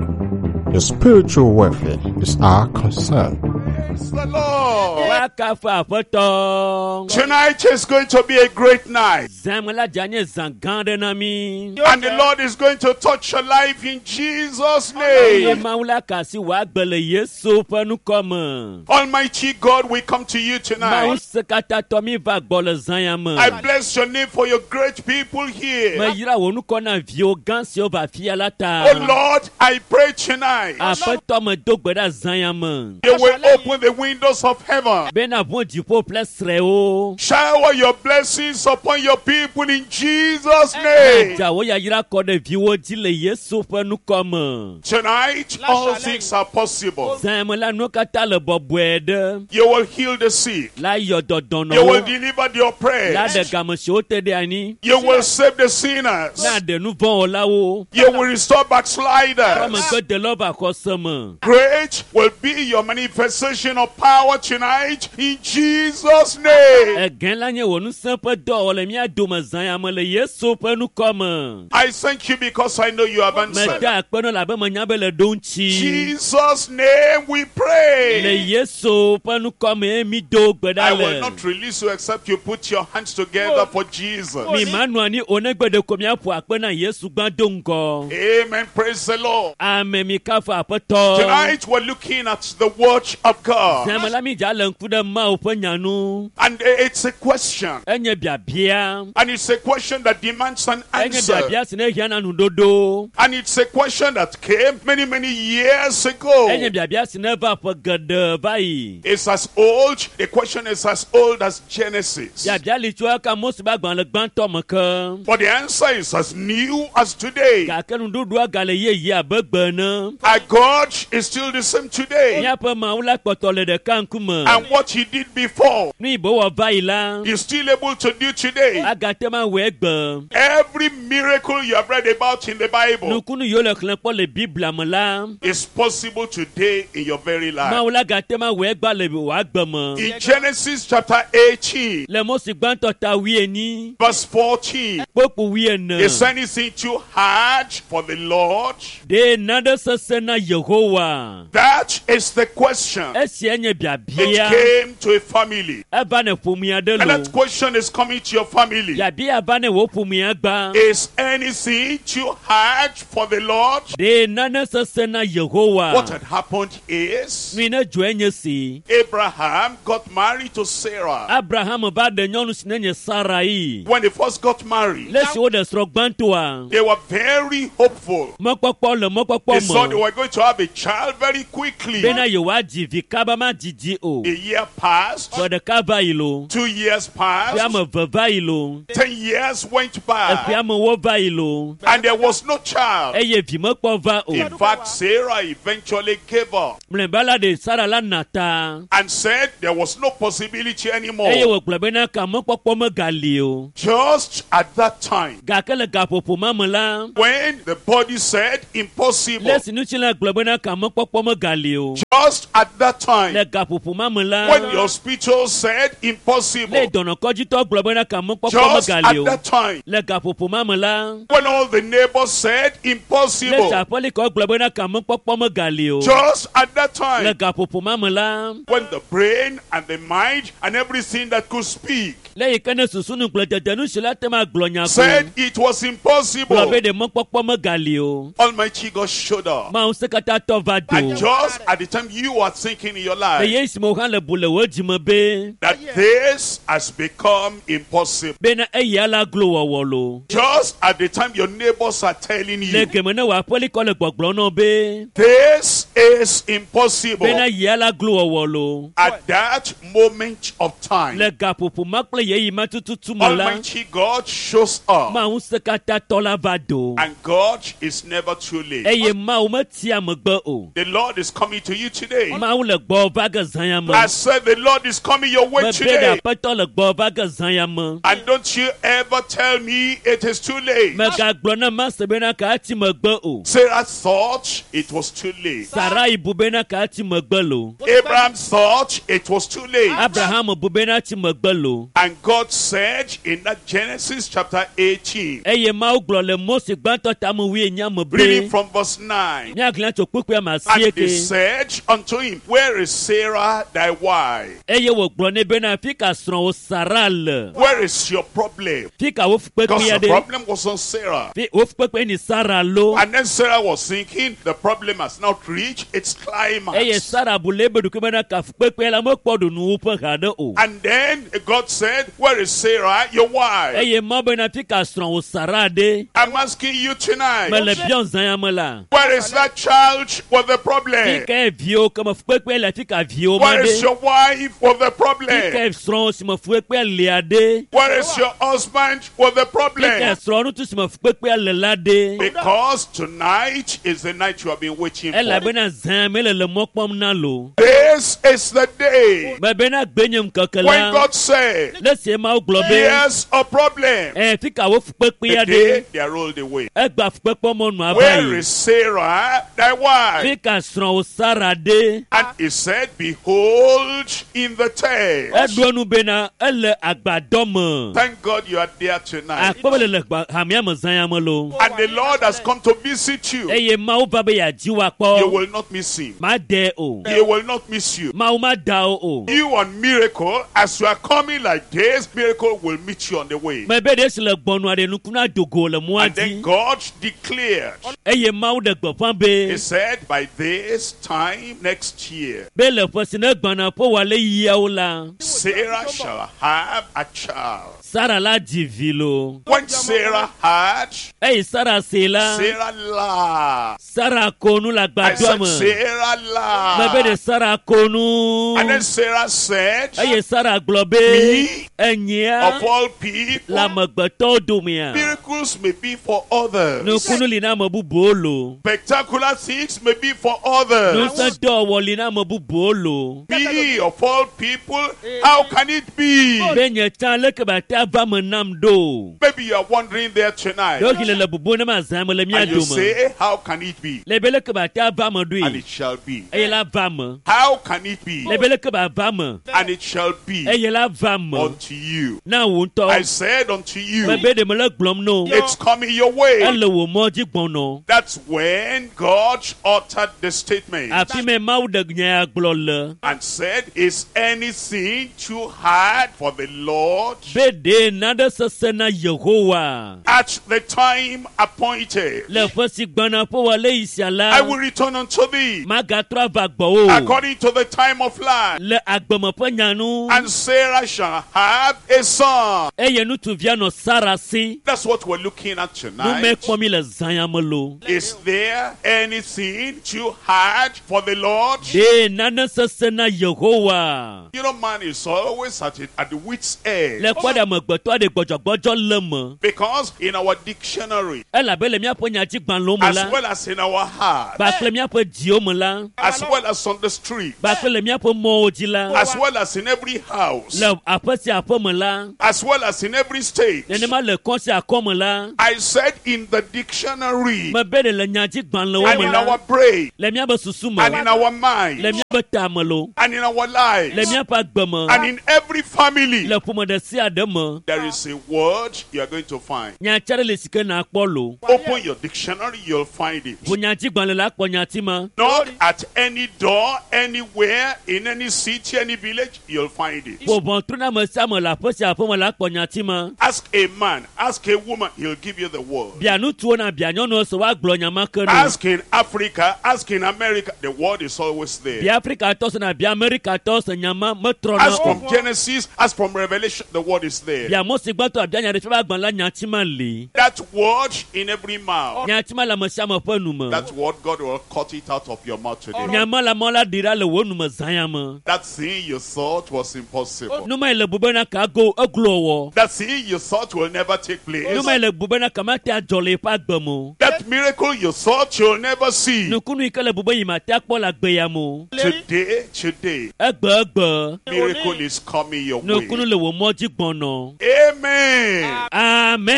Your spiritual welfare is our concern. Praise the Lord. Woakafu aƒetɔ. Tonight is going to be a great night. Zãme la dze anye zã gã aɖe na mí. And the Lord is going to touch your life in Jesus' Eye name. Mawu la ka asi wò agbe le Yesu ƒe ŋkɔ me. Almighty God, we come to you Mawu tonight. se katã tɔ mí va gbɔ le zã ya me. I bless your name for your great people here. Meyra wò ŋkɔ na viwo gã siwo va afia la ta. Oh Lord, I pray tonight. Aƒetɔ me do gbe ɖa zã ya me. You will open the windows of heaven. Bena ʋu dziƒo ƒle srɛwo. Shower your blessings upon your people in Jesus' name. Dza wò yayra kɔ ɖe viwo dzi le Yesu ƒe ŋkɔ me. Tonight, all things are possible. Zã ya me la nuwo katã le bɔbɔe ɖe. You will heal the sick. La yɔ You will dɔdɔnɔwo. deliver the La ɖe oppressed. game siwo te ɖe anyi. You will save the sinners. Na ɖe nu vɔ̃ wɔlawo. You will restore backsliders. Amegbedelawo va xɔse me. Great will be your manifestation of power tonight in Jesus' name. Egã la nye wò ŋusẽ ƒe dɔwɔwɔ le mía dome zã ya me le Yesu ƒe ŋkɔ me. I thank you because I know you have answered. Meda akpe nɔ labe menya be le ɖo ŋuti. Jesus' name we Le pray. Yesu ƒe ŋkɔ me mi do gbe I ɖa will le. not release you except you put your hands together for Jesus. Mi ma nɔ anyi o negbe ɖeko miaƒo akpe na Yesu gbã do ŋgɔ. Amen. Praise the Lord. Ame mi kafu aƒetɔ. Tonight we're looking at the watch of God. God. Zãme la mi dza le ŋku ɖe Mawu ƒe nya nu. And it's a question. Enye biabia. And it's a question that demands an Enye answer. biabia si ne hiã na nuɖoɖo. And it's a question that came many, many years ago. Enye biabia si ne va ƒe geɖe va yi. It's as old, the question is as old as Genesis. Biabia li tso eka Mose ƒe agbalẽ gbãtɔ me ke. But the answer is as new as today. Gake nuɖuɖua gale yeye abe gbe ene. Our God is still the same today. Míaƒe Mawu la kpɔtɔ le ɖeka ŋkume. And what he did before, Nu yi be wɔ va yi la, he's still able to do today. agate ma wɔe gbe. Every miracle you have read about in the Bible Nukunu yiwo le xlẽ kpɔ le Biblia me la, is possible today in your very life. Mawu la gate ma wɔe gba le wò agbe me. In Genesis chapter eighteen, Le Mose gbãtɔ ta wuienyi, verse fourteen, kpokpo wuiene. is anything too hard for the Lord? Ɖe nane sesẽ na Yehowa? That is the question. Esia nye It biabia. came to a family. Eva ne ƒomea ɖe And lo. that question is coming to your family. Biabia va ne wò ƒomea gba. Is anything too hard for the Lord? Ɖe nane sesẽ na Yehowa? What had happened is Nu yi ne dzɔe nye si. Abraham got married to Sarah. Abraham va ɖe nyɔnu si ne nye Sarai. When they first got married, Le esi woɖe srɔ̃ gbãtɔa, they were very hopeful. mɔkpɔkpɔ le mɔkpɔkpɔ They thought they me were going to have a child very quickly. bena yewoadzi vi kaba ma didi o. A year passed, Ƒe ɖeka va yi lo, two years ƒe passed, ame eve va yi lo, ten years went eƒe by, amewo va yi lo, and there was no child. eye vi mekpɔ va o. In fact, Sarah eventually gave up Mlɔeba la ɖe Sara la na ta and said there was no possibility eye anymore. wògblɔ bena ka mɔkpɔkpɔ megali o. Just at that time, Gake le gaƒoƒo ma me la, when the body said impossible, le esi ŋutilã gblɔ bena ka mɔkpɔkpɔ megali o. just at that time, Le gaƒoƒo ma me la, when the hospital said le impossible, dɔnɔkɔdzitɔ gblɔ bena ka mɔkpɔkpɔ just at megali o. that time, Le gaƒoƒo ma me la, when all the neighbors said le impossible, saƒelikɔ gblɔ bena ka mɔkpɔkpɔ megali o. just at that Le time, gaƒoƒo ma me la, when the brain and the mind and everything that could speak le yi ke ne susu nugblẽdede nu si la te ma gblɔ nya ko said it was gblɔ impossible, be ɖe mɔkpɔkpɔ megali o. Almighty God showed up. Mawu ŋusẽkatãtɔ va do. And just at the time you are thinking in your Le life ye si me wo hã le bu le wò dzime be that this has become impossible, bena eya la glo wɔwɔ lo. just at the time your neighbors are telling Le you geme ne wò aƒelikɔ le gbɔgblɔ nɔ be this is impossible, bena yia la glo wɔwɔ lo. at that moment of time, Le gaƒoƒo ma kple yeyi ma tututu me la, Almighty God shows up. Mawu ŋusẽkatãtɔ la va do. And God is never too late. Eye Mawu metia megbe o. The Lord is coming to you today. Mawu le gbɔ va ge zã ya me. I said the Lord is coming your way Mebe ɖe today. aƒetɔ le gbɔ va ge zã ya me. And don't you ever tell me it is too late. Megagblɔ na Mase bena ka ati megbe o. Sarah thought it was too late. Sarai bu bena ka ati megbe lo. Abraham thought it was too late. Abraham bu bena ati megbe lo. And God said in that Genesis chapter eighteen, Eye Mawu gblɔ le Mose gbãtɔ tame wuienyi me reading be from verse nine. míaxlẽ tso kpukpui ame And asieke. they said unto him, Where is Sarah thy wife? Eye wògblɔ nɛ bena fi ka srɔ̃wò Sara le. Where is your problem? Fi ka wo Because fukpekpea the ɖe. problem was on Sarah. Fi wo fukpekpe ni Sara lo. And then Sarah was thinking, the problem has not reached its Eye climax. Sara bu le ebe ɖokui bena ka fukpekpea la mekpɔ ɖu nuwuƒe haɖe o. And then God said, Where is Sarah, your wife? Eye Mawu bena fi ka srɔ̃wò Sara ɖe. I'm asking you tonight, Mele biɔ zã ya me la. where is that child with the Fi problem? ka viwo ke me fukpekpe le fi ka viwo ma Where is ɖe. your wife with the Fi problem? ka srɔ̃wò si me fukpekpea lia ɖe. Where is your husband with the Fi ka problem? srɔ̃ŋutsu si me fukpekpea le la ɖe. Because tonight is the night you have been waiting for. Elabena zã me le le mɔ kpɔm na lo. This is the day Mebena gbe nye ŋkeke when la. God said, Le sie Mawu gblɔ be. Here's a problem. Ɛ fi ka wo fukpekpea The day ɖe. they are rolled away. Egba fukpekpe mɔnu ava Where yi. is Sarah, thy wife? Fi ka srɔ̃wò Sara ɖe. And he said, Behold, in the tent. Eɖo enu bena ele agbadɔ me. Thank God you are there tonight. Akpɔ be le le gba- hamea me zã ya me lo. And the Lord has come to visit you. Eye Mawu va be yeadzi wò You akpɔ. will not miss him. Ma de o. You will not miss miss you. Mawu ma da wo o. You on miracle, as you are coming like this, miracle will meet you on the way. Mebe ɖe si le gbɔnua ɖe nukunu adogo le mɔa And then dzi. God declared, Eye Mawu ɖe gbeƒã be He said, by this time next year, be le ƒe si ne gbɔna ƒe wòale yiawo la, Sarah shall have a child. Sara la dzi vi lo. When Sarah had, Eye Sara se la, Sarah laughed. Sara ko nu le I agbadɔa said, me. Sarah Mebe ɖe laughed. Sara ko nu. And then Sarah said, Eye Sara gblɔ be Me, enyia of all le people, amegbetɔwo domea. miracles may be for others. Nukunu li na ame bubuwo lo. Spectacular things may be for others. Ŋusẽ dɔwɔwɔ li na ame bubuwo lo. Me, of all people, how can it be? Be nye tsã leke ba te ava me nam ɖo. Maybe you are wondering there tonight. Ɖewohĩ le le bubu ne ma zã me le mía And you dome. say, how can it be? Le be leke ba te ava me And ɖoe. it shall be. Eye la va me. How can it be? Le be leke ba va me. And it shall be Eye la va me. unto you. Na wò I ŋutɔ. said unto you, Mebe ɖe mele gblɔm no. it's coming your way. Ele wò mɔ dzi gbɔnɔ. That's when God uttered the statement Afi me Mawu ɖe nya ya gblɔ le. and said, Is anything too hard for the Lord? Be ɖe naɖe sesẽ na Yehowa. At the time appointed, Le ƒe si gbɔna ƒe wòale yi sia la, I will return unto thee magatrɔ ava gbɔwò. according to the time of life. Le agbeme ƒe nya nu. And Sarah shall have a son. Eye ŋutsuvia nɔ Sara si. That's what we're looking at Nume tonight. kpɔm mi le zã ya me lo. Is there anything too hard for the Lord? Ɖe nane sesẽ na Yehowa. You know, man is always at, it, at the wit's edge. Le kpɔ ɖe amegbetɔ aɖe gbɔdzɔgbɔdzɔ le me. Because in our dictionary, Elabe le míaƒe nyadzigbalẽwo me as la, well as in our heart, kpakple míaƒe dziwo me la, as well as on the street, kpakple le míaƒe mɔwo dzi la, as well as in every house, le aƒe sia aƒe me la, as well as in every state. nenema le kɔ sia kɔ me la, I said in the dictionary, mebe ɖe le nyadzigbalẽwo and me in la, our brain, le míaƒe susu me, and in our mind, le míaƒe ta me lo, and in our le lives, míaƒe agbe me, and in every family, le ƒome ɖe sia ɖe me. there is a word you are going to find. Nyati aɖe le si ke nakpɔ lo. Open your dictionary, you'll find it. Ʋu nyadzigbalẽ la kpɔ nyati ma. Knock at any door, anywhere, in any city, any village, you'll find it. Ƒo ʋɔtru na ame sia ame le aƒe sia aƒe me la kpɔ nyati ma. Ask a man, ask a woman, he'll give you the word. Bia ŋutsuwo na bia nyɔnuwo se woagblɔ nya ma ke no. Ask in Africa, ask in America, the word is always there. Bia Afrikatɔ se na bia Amerikatɔ se nya ma metrɔna Ask o. from Genesis, ask from Revelation, the word is there. Bia Mose gbãtɔ abia nya ɖe ƒe agbalẽ la nyati ma li. That word in every mouth. Nyati ma le ame sia ame ƒe nu me. That word, God will cut it out of your mouth today. Nya ma le amewo la ɖi ɖa le wò nu me zã ya me. That thing you thought was impossible. Nu ma yi le bu bena ka go eglo wɔ. That thing you thought will never take Nu place. ma yi le bu bena ka mate adzɔ le eƒe agbe me o. That miracle you thought you'll never see. Nukunu yi ke le bu be yi mate akpɔ le agbe ya me o. Today, today, Egbe egbe. miracle is coming your Nukunu way. le wò mɔ dzi gbɔnɔ. Amen. I'm going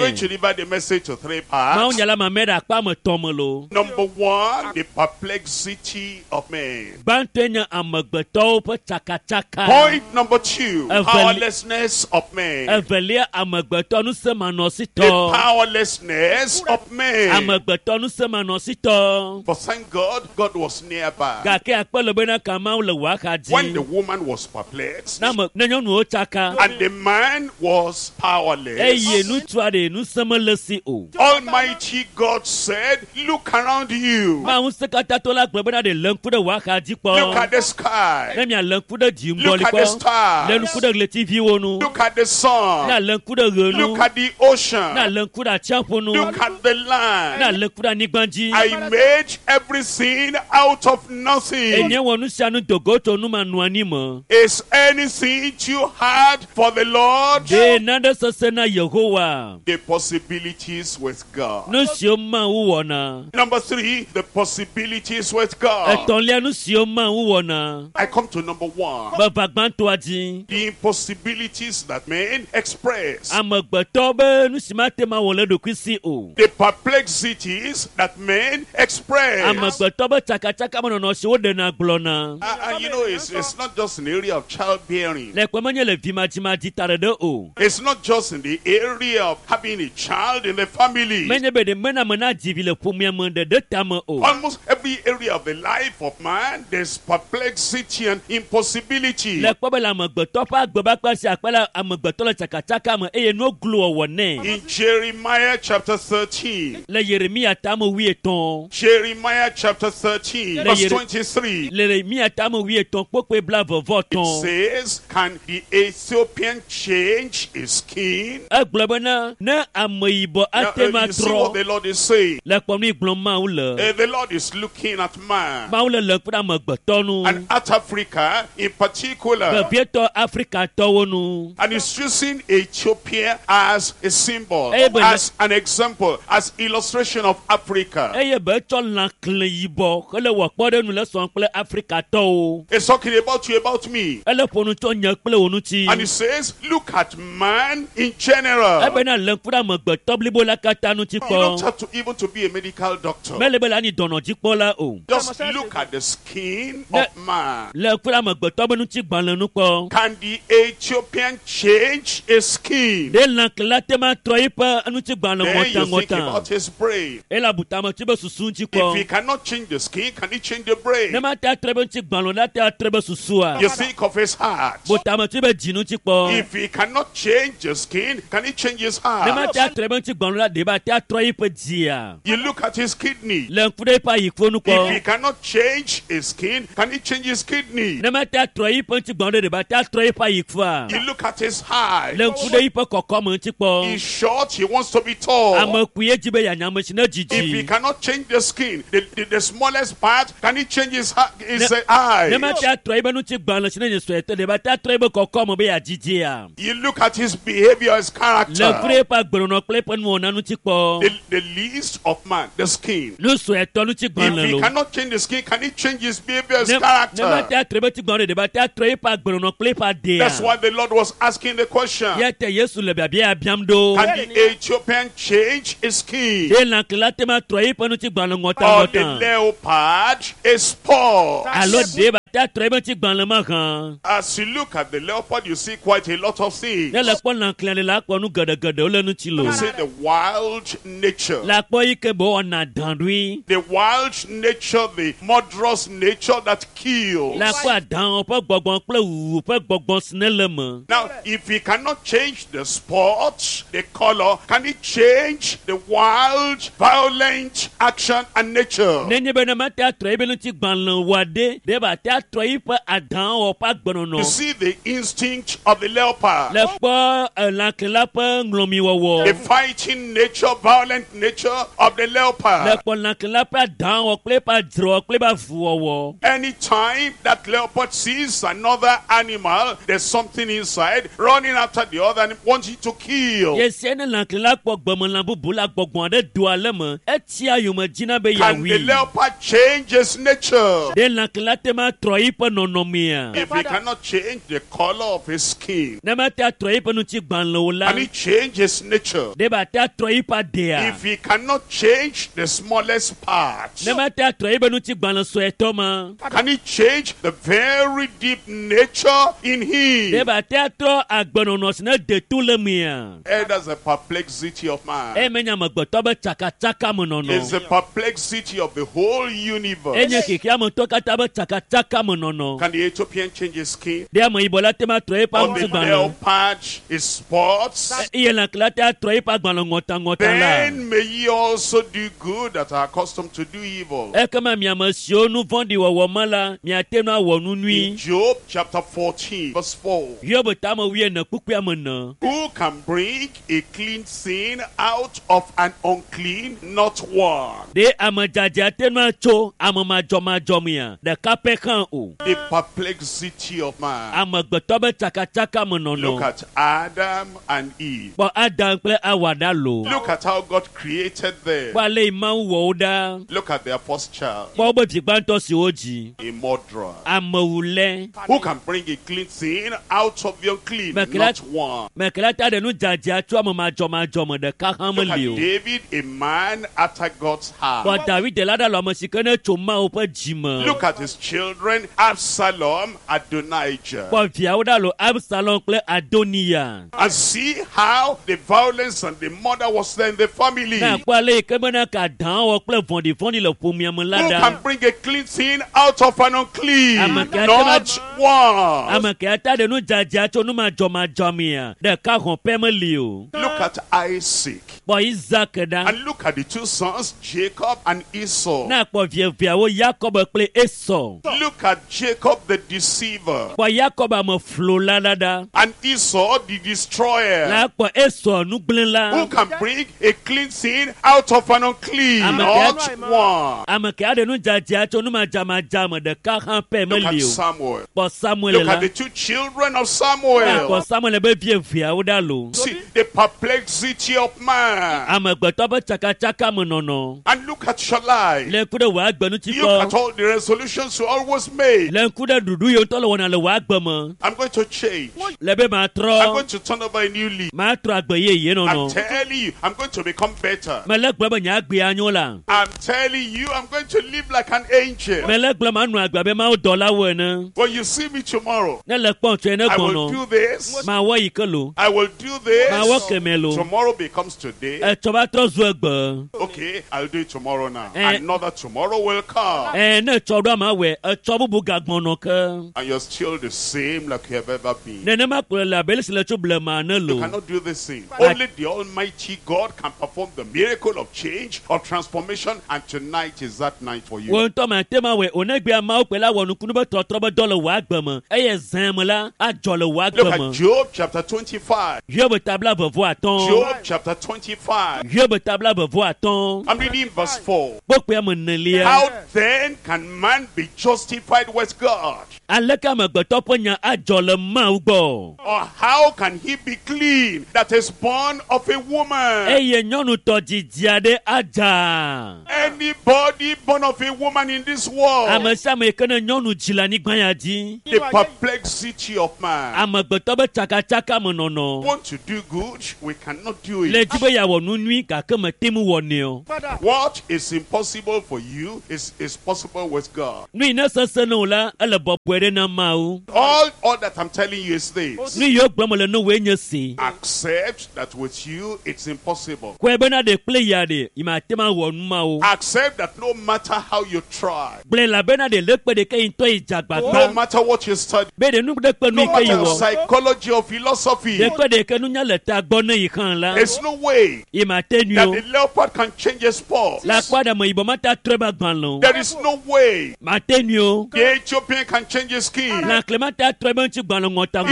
Amen. to divide the message to three Mawu parts. nya la ma mɛ ɖe akpa ame tɔn me lo. Number one, the perplexity of man. Gbãtɔe nye amegbetɔwo ƒe tsakatsaka. Point number two, Eveli- powerlessness of man. Evelia amegbetɔ The ŋusẽmanɔsitɔ. powerlessness of man. Amegbetɔ ŋusẽmanɔsitɔ. But thank God, God was nearby. Gake akpe le bena ka Mawu le wò axa When the dzi. woman was perplexed Ne ame ne nyɔnuwo tsaka and the man was eye powerless, ŋutsua ɖe ŋusẽ mele si o. Almighty God said, Look around you. Mawu ŋusẽkatãtɔ la gblɔ bena ɖe lé ŋku ɖe wò axa dzi Look kpɔ. at the sky. Ne mialé ŋku ɖe dziŋgɔli Look at the kpɔ. Lé stars. ŋku ɖe ɣletiviwo ŋu. Look at the Ne sun. alé ŋku ɖe ɣe ŋu. Look at the ocean. Ne alé ŋku ɖe atsiaƒu ŋu. Look at the Ne land. alé ŋku ɖe anyigba dzi. I made everything out of nothing. Enye wɔ nu sia nu dogo tso numanɔanyi me. Is anything too hard for the Lord? Ɖe nane sesẽ na Yehowa. The possibilities with God. Nu siwo Mawu wɔna. Number three, the possibilities with God. Etɔ̃lia nu siwo Mawu wɔna. I come to number one. Meva gbãtɔa dzi. The impossibilities that men express. Amegbetɔ be nu si mate ma wɔ le ɖokui si o. The perplexities that men express. Amegbetɔ be tsakatsaka menɔnɔ si woɖena gblɔna. And, and you know, it's, it's not just an area of childbearing. Le kpɔ menye le vimadzimadzi ta ɖeɖe o. It's not just in the area of having a child in the family. Menye be ɖe mena me na dzi vi le ƒomea me ɖeɖe tame o. Almost every area of the life of man, there's perplexity and impossibility. Le kpɔ be le amegbetɔ ƒe agbe be akpa sia akpa la amegbetɔ le tsakatsaka me eye nuwo glo wɔwɔ nɛ. In Jeremiah chapter thirteen, Le Yeremia tame wuietɔ̃. Jeremiah chapter thirteen, Le verse Yere- twenty-three, Le Yeremia tame wuietɔ̃ kpokpoe blaeve vɔ it etɔ̃. says, can the Ethiopian change his skin? Egblɔ bena ne ameyibɔ Now, ate uh, ma you see what trɔ the Lord is saying. le kpɔ nu yi gblɔm Mawu le. Uh, the Lord is looking at man. Mawu le le kpe ɖe amegbetɔ nu. And at Africa in particular. Vevietɔ Afrikatɔwo nu. And he's using Ethiopia as a symbol, Eh, but- as an example, as illustration of Africa. Eye be etsɔ lã kle yibɔ hele wɔ kpɔɖeŋu le sɔm kple Afrikatɔwo. It's talking about you, about me. Ele ƒo nu tso nye kple wò ŋuti. And he says, look at man in general. Ebena le ŋku ɖe amegbetɔ blibo la katã ŋuti You don't kpɔ. have to even to be a medical doctor. Mele be le anyi dɔnɔdzikpɔla o. Just look at the skin Ne- of man. Le ŋku ɖe amegbetɔ be ŋutigbalẽ nu kpɔ. Can the Ethiopian change his skin? Ɖe lãkle te ma trɔ eƒe ŋutigbalẽ Then you think ŋɔtaŋɔta. about his brain. Ele abu tame tso be susu ŋuti If he kpɔ. cannot change the skin, can he change the brain? Ne ma te atrɔ ebe ŋutigbalẽ o la te atrɔ ebe susua. You think of his heart. Bu tame tso ebe dzi ŋuti kpɔ. If he cannot change the skin, can he change his Ne ma heart? te atrɔ ebe ŋutigbalẽ o la ɖe ba te atrɔ eƒe dzia. You look at his kidney. Le ŋku ɖe eƒe ayiƒo nu If he kpɔ. cannot change his skin, can he change his kidney? Ne ma te atrɔ eƒe ŋutigbalẽ ɖe ɖe ba te atrɔ eƒe ayiƒoa. You look at his eye. Le ŋku ɖe eƒe kɔkɔme ŋuti kpɔ. He's short, he wants to be tall. Ame kpuie dzi be yeanya ame si ne If he dzidzi. cannot change the skin, the, the, the smallest part, can he change his, ha- his Ne- uh, eye? Ne ma te atrɔ ebe ŋutigbalẽ si ne nye suetɔ ɖe ba te atrɔ ebe kɔkɔme be yeadzidzia. You look at his behavior, his Le ŋku character. ɖe eƒe agbenɔnɔ kple eƒe nuwɔna ŋuti kpɔ. The, the least of man, the skin. Nu suetɔ If ŋutigbalẽ he lo. cannot change the skin, can he change his behavior, his Ne ne ma character? te atrɔ ebe ŋutigbalẽ ɖe ba te atrɔ eƒe agbenɔnɔ kple eƒe adea. That's why the Lord was asking the question. Ya te Yesu le biabia ya biam ɖo. Can the Ethiopian change his skin? Ɖe lãkle te ma trɔ eƒe ŋutigbalẽ Or the ŋɔtaŋɔta. leopard a spot? Alo ɖe ba te atrɔ ebe ŋutigbalẽ ma hã. As you look at the leopard, you see quite a lot of things. Ne le kpɔ lãkle le la kpɔ nu geɖegeɖewo le ŋuti lo. You see the wild nature. Le akpɔ yi ke be wɔna dã ɖoe. The wild nature, the murderous nature that kills. Le akpɔ adãwo ƒe gbɔgbɔ kple wuwu ƒe gbɔgbɔ si ne le me. Now, if he cannot change the spot, the color, can he change the wild, violent action and nature? Nenye be ne ma te atrɔ ebe ŋutigbalẽ wɔa ɖe, ɖe ba te atrɔ yiƒe adãwo ƒe agbenɔnɔ. You see the instinct of the leopard, Le kpɔ lãkle la ƒe ŋlɔmiwɔwɔ. the fighting nature, violent nature of the Le leopard. kpɔ lãkle la ƒe adãwɔ kple eƒe adzrewɔ kple eƒe avuwɔwɔ. Anytime that leopard sees another animal, there's something inside running after the other and wanting to kill. Yesia ne lãkle la kpɔ gbemelã bubu la gbɔgbɔ aɖe doa le me, etsia yome dzina be Can the yeawui. leopard change his nature? Ɖe lãkle la te ma trɔ yiƒe nɔnɔmea? If he cannot change the color of his skin, Ne ma te atrɔ yiƒe ŋutigbalẽ o la, can he change his nature? ɖe ba te atrɔ yiƒe adea? If he cannot change the smallest part, Ne ma te atrɔ yiƒe ŋutigbalẽ suetɔ ma, can he change the very deep nature in ɖe him? ba te atrɔ agbenɔnɔ si ne de to le mea? Eh, that's the perplexity of man. Eye menye amegbetɔ be tsakatsaka me It's nɔnɔ. the perplexity of the whole universe. Enye xexeametɔ katã be tsakatsaka me nɔnɔ. Can the Ethiopian change his skin? Ɖe ameyibɔ la te ma trɔ eƒe Or the ŋutigbalẽ? leopard his spots? Eye lãkle la te atrɔ eƒe agbalẽ ŋɔtaŋɔta la. Then may ye also do good that are accustomed to do evil. Ekema miame siwo nu vɔ̃ɖi wɔwɔ me la, miate ŋu awɔ nu In nyui. Job chapter fourteen, verse four. Hiob tame wuiene kpukpui ame ene. Who can bring a clean sin out of an unclean? Not one. Ɖe ame dzadzɛ ate ŋu atso ame madzɔmadzɔ mea? Ɖeka pɛ hã o. The perplexity of man. Amegbetɔ be tsakatsaka me Look nɔnɔ. at Adam and Eve. Kpɔ Adam kple Awa ɖa lo. Look at how God created them. Kpɔ ale yi Mawu wɔ wo ɖa. Look at their first child, Kpɔ wobe vi gbãtɔ si wodzi. a murderer. Amewulɛ. Who can bring a clean sin out of the unclean? Mekela- Not one. Mekela ta ɖe nu dzadzɛ tso ame madzɔmadzɔ me ɖeka hã Look at meli o. David, a man after God's heart. Kpɔ David la ɖa le ame si ke ne tso Mawu ƒe dzi me. Look at his children children, Absalom, Adonijah. Kpɔ viawo ɖa lo Absalom kple Adoniya. And see how the violence and the murder was there in the family. Ne akpɔ ale yi ke bena ka dã wɔ kple vɔ̃ɖivɔ̃ɖi le ƒomea me la Who ɖa. can bring a clean thing out of an unclean? Ame ke Not one. Ame ke ata ɖe nu dzadzea tso nu madzɔmadzɔ mea, ɖeka hɔn pɛ meli o. Look at Isaac. Kpɔ Isaac ɖa. And look at the two sons, Jacob and Esau. Ne akpɔ vieviawo Yakob kple Esau. Look at Jacob the deceiver Kpɔ Yakob ame flola la ɖa. and Esau the destroyer. La kpɔ Esau nugblẽla. Who can bring a clean thing out of an unclean? Ame Not ke- one. Ame ke aɖe nu dzadzea tso nu madzamadza me ɖeka hã pɛ Look at meli o. Samuel. Kpɔ Samuel Look la. at the two children of Ne akpɔ Samuel. Samuel be vieviawo ɖa lo. See the perplexity of man. Amegbetɔ ƒe tsakatsaka me nɔnɔ. And look at your life. Le ŋku ɖe wò agbe ŋuti Look at kpɔ. all the resolutions you always make. Le ŋku ɖe ɖuɖu yi ŋutɔ le wɔna le wò agbe me. I'm going to change. Le be I'm matrɔ. going to turn over a new leaf. Matrɔ agbe yeye I'm nɔnɔ. telling you, I'm going to become better. Mele gblɔ be nye agbe anyo la. I'm telling you, I'm going to live like an angel. Mele gblɔ manɔ agbe abe Mawu dɔlawo ene. When you see me tomorrow, Ne le kpɔm tsoe ne I will gbɔnɔ. do this. Mawɔ yi ke lo. I will do Mawɔ this. kemɛ lo. Tomorrow becomes today. Etsɔ va trɔ zu egbe. Okay, I'll do it tomorrow now. Eh. Another tomorrow will come. Ɛ ne etsɔ ɖo ama wɔe, etsɔ bubu gagbɔnɔ ke. And you're still the same like you have ever been. Nenema kplɔe le abe ale si le tso blema ene You lo. cannot do this thing. Only the Almighty God can perform the miracle of change, of transformation, and tonight is that night for you. Wo ŋutɔ mate ma wɔe o negbea Mawu kpe la wɔ nukunu be tɔtrɔ be dɔ le wò agbe me eye zã me la adzɔ le wò Look agbe at me. Job chapter twenty-five. Hiob tabla vevɔ atɔ̃. Job chapter twenty-five. Hiob tabla vevɔ atɔ̃. I'm reading verse four. Kpokpoe ame enelia. How then can man be justified with God? Aleke amegbetɔ ƒe nya adzɔ le Mawu gbɔ? Or how can he be clean that is born of a woman? Eye nyɔnutɔ dzidzi aɖe adza. Anybody born of a woman in this world, Ame sia ame yi ke ne nyɔnu dzi le anyigba ya dzi. the perplexity of man. Amegbetɔ be tsakatsaka me nɔnɔ. Want to do good, we cannot do Le it. dzi be yeawɔ nu nyui gake mete ŋu wɔnɛ o. What is impossible for you is, is possible with God. Nu yi ne sesẽ na wò la, ele bɔbɔe ɖe na Mawu. All, all that I'm telling you is this. Nu yiwo gblɔm le ne wòe nye si. Accept that with you it's impossible. Kɔe bena ɖe kple ya ɖe, yi mate ŋu awɔ nu mawo. Accept that no matter how you try, Gblɔe elabena ɖe le kpe ɖeke yi ŋutɔ yi dze no agbagba. matter what you study, Be ɖe nu ɖe kpe nu no yi ke yi matter wɔ. psychology or philosophy, Ɖe kpe ɖeke nunya le ta gbɔ ne yi hã la, there's no way yi mate nui that o. the leopard can change his spots. Le akpa ɖe me yibɔ mate atrɔe be agbalẽ o. There is no way Mate nui o. the Ethiopian can change his skin. Lãkle mate atrɔe be ŋuti gbalẽ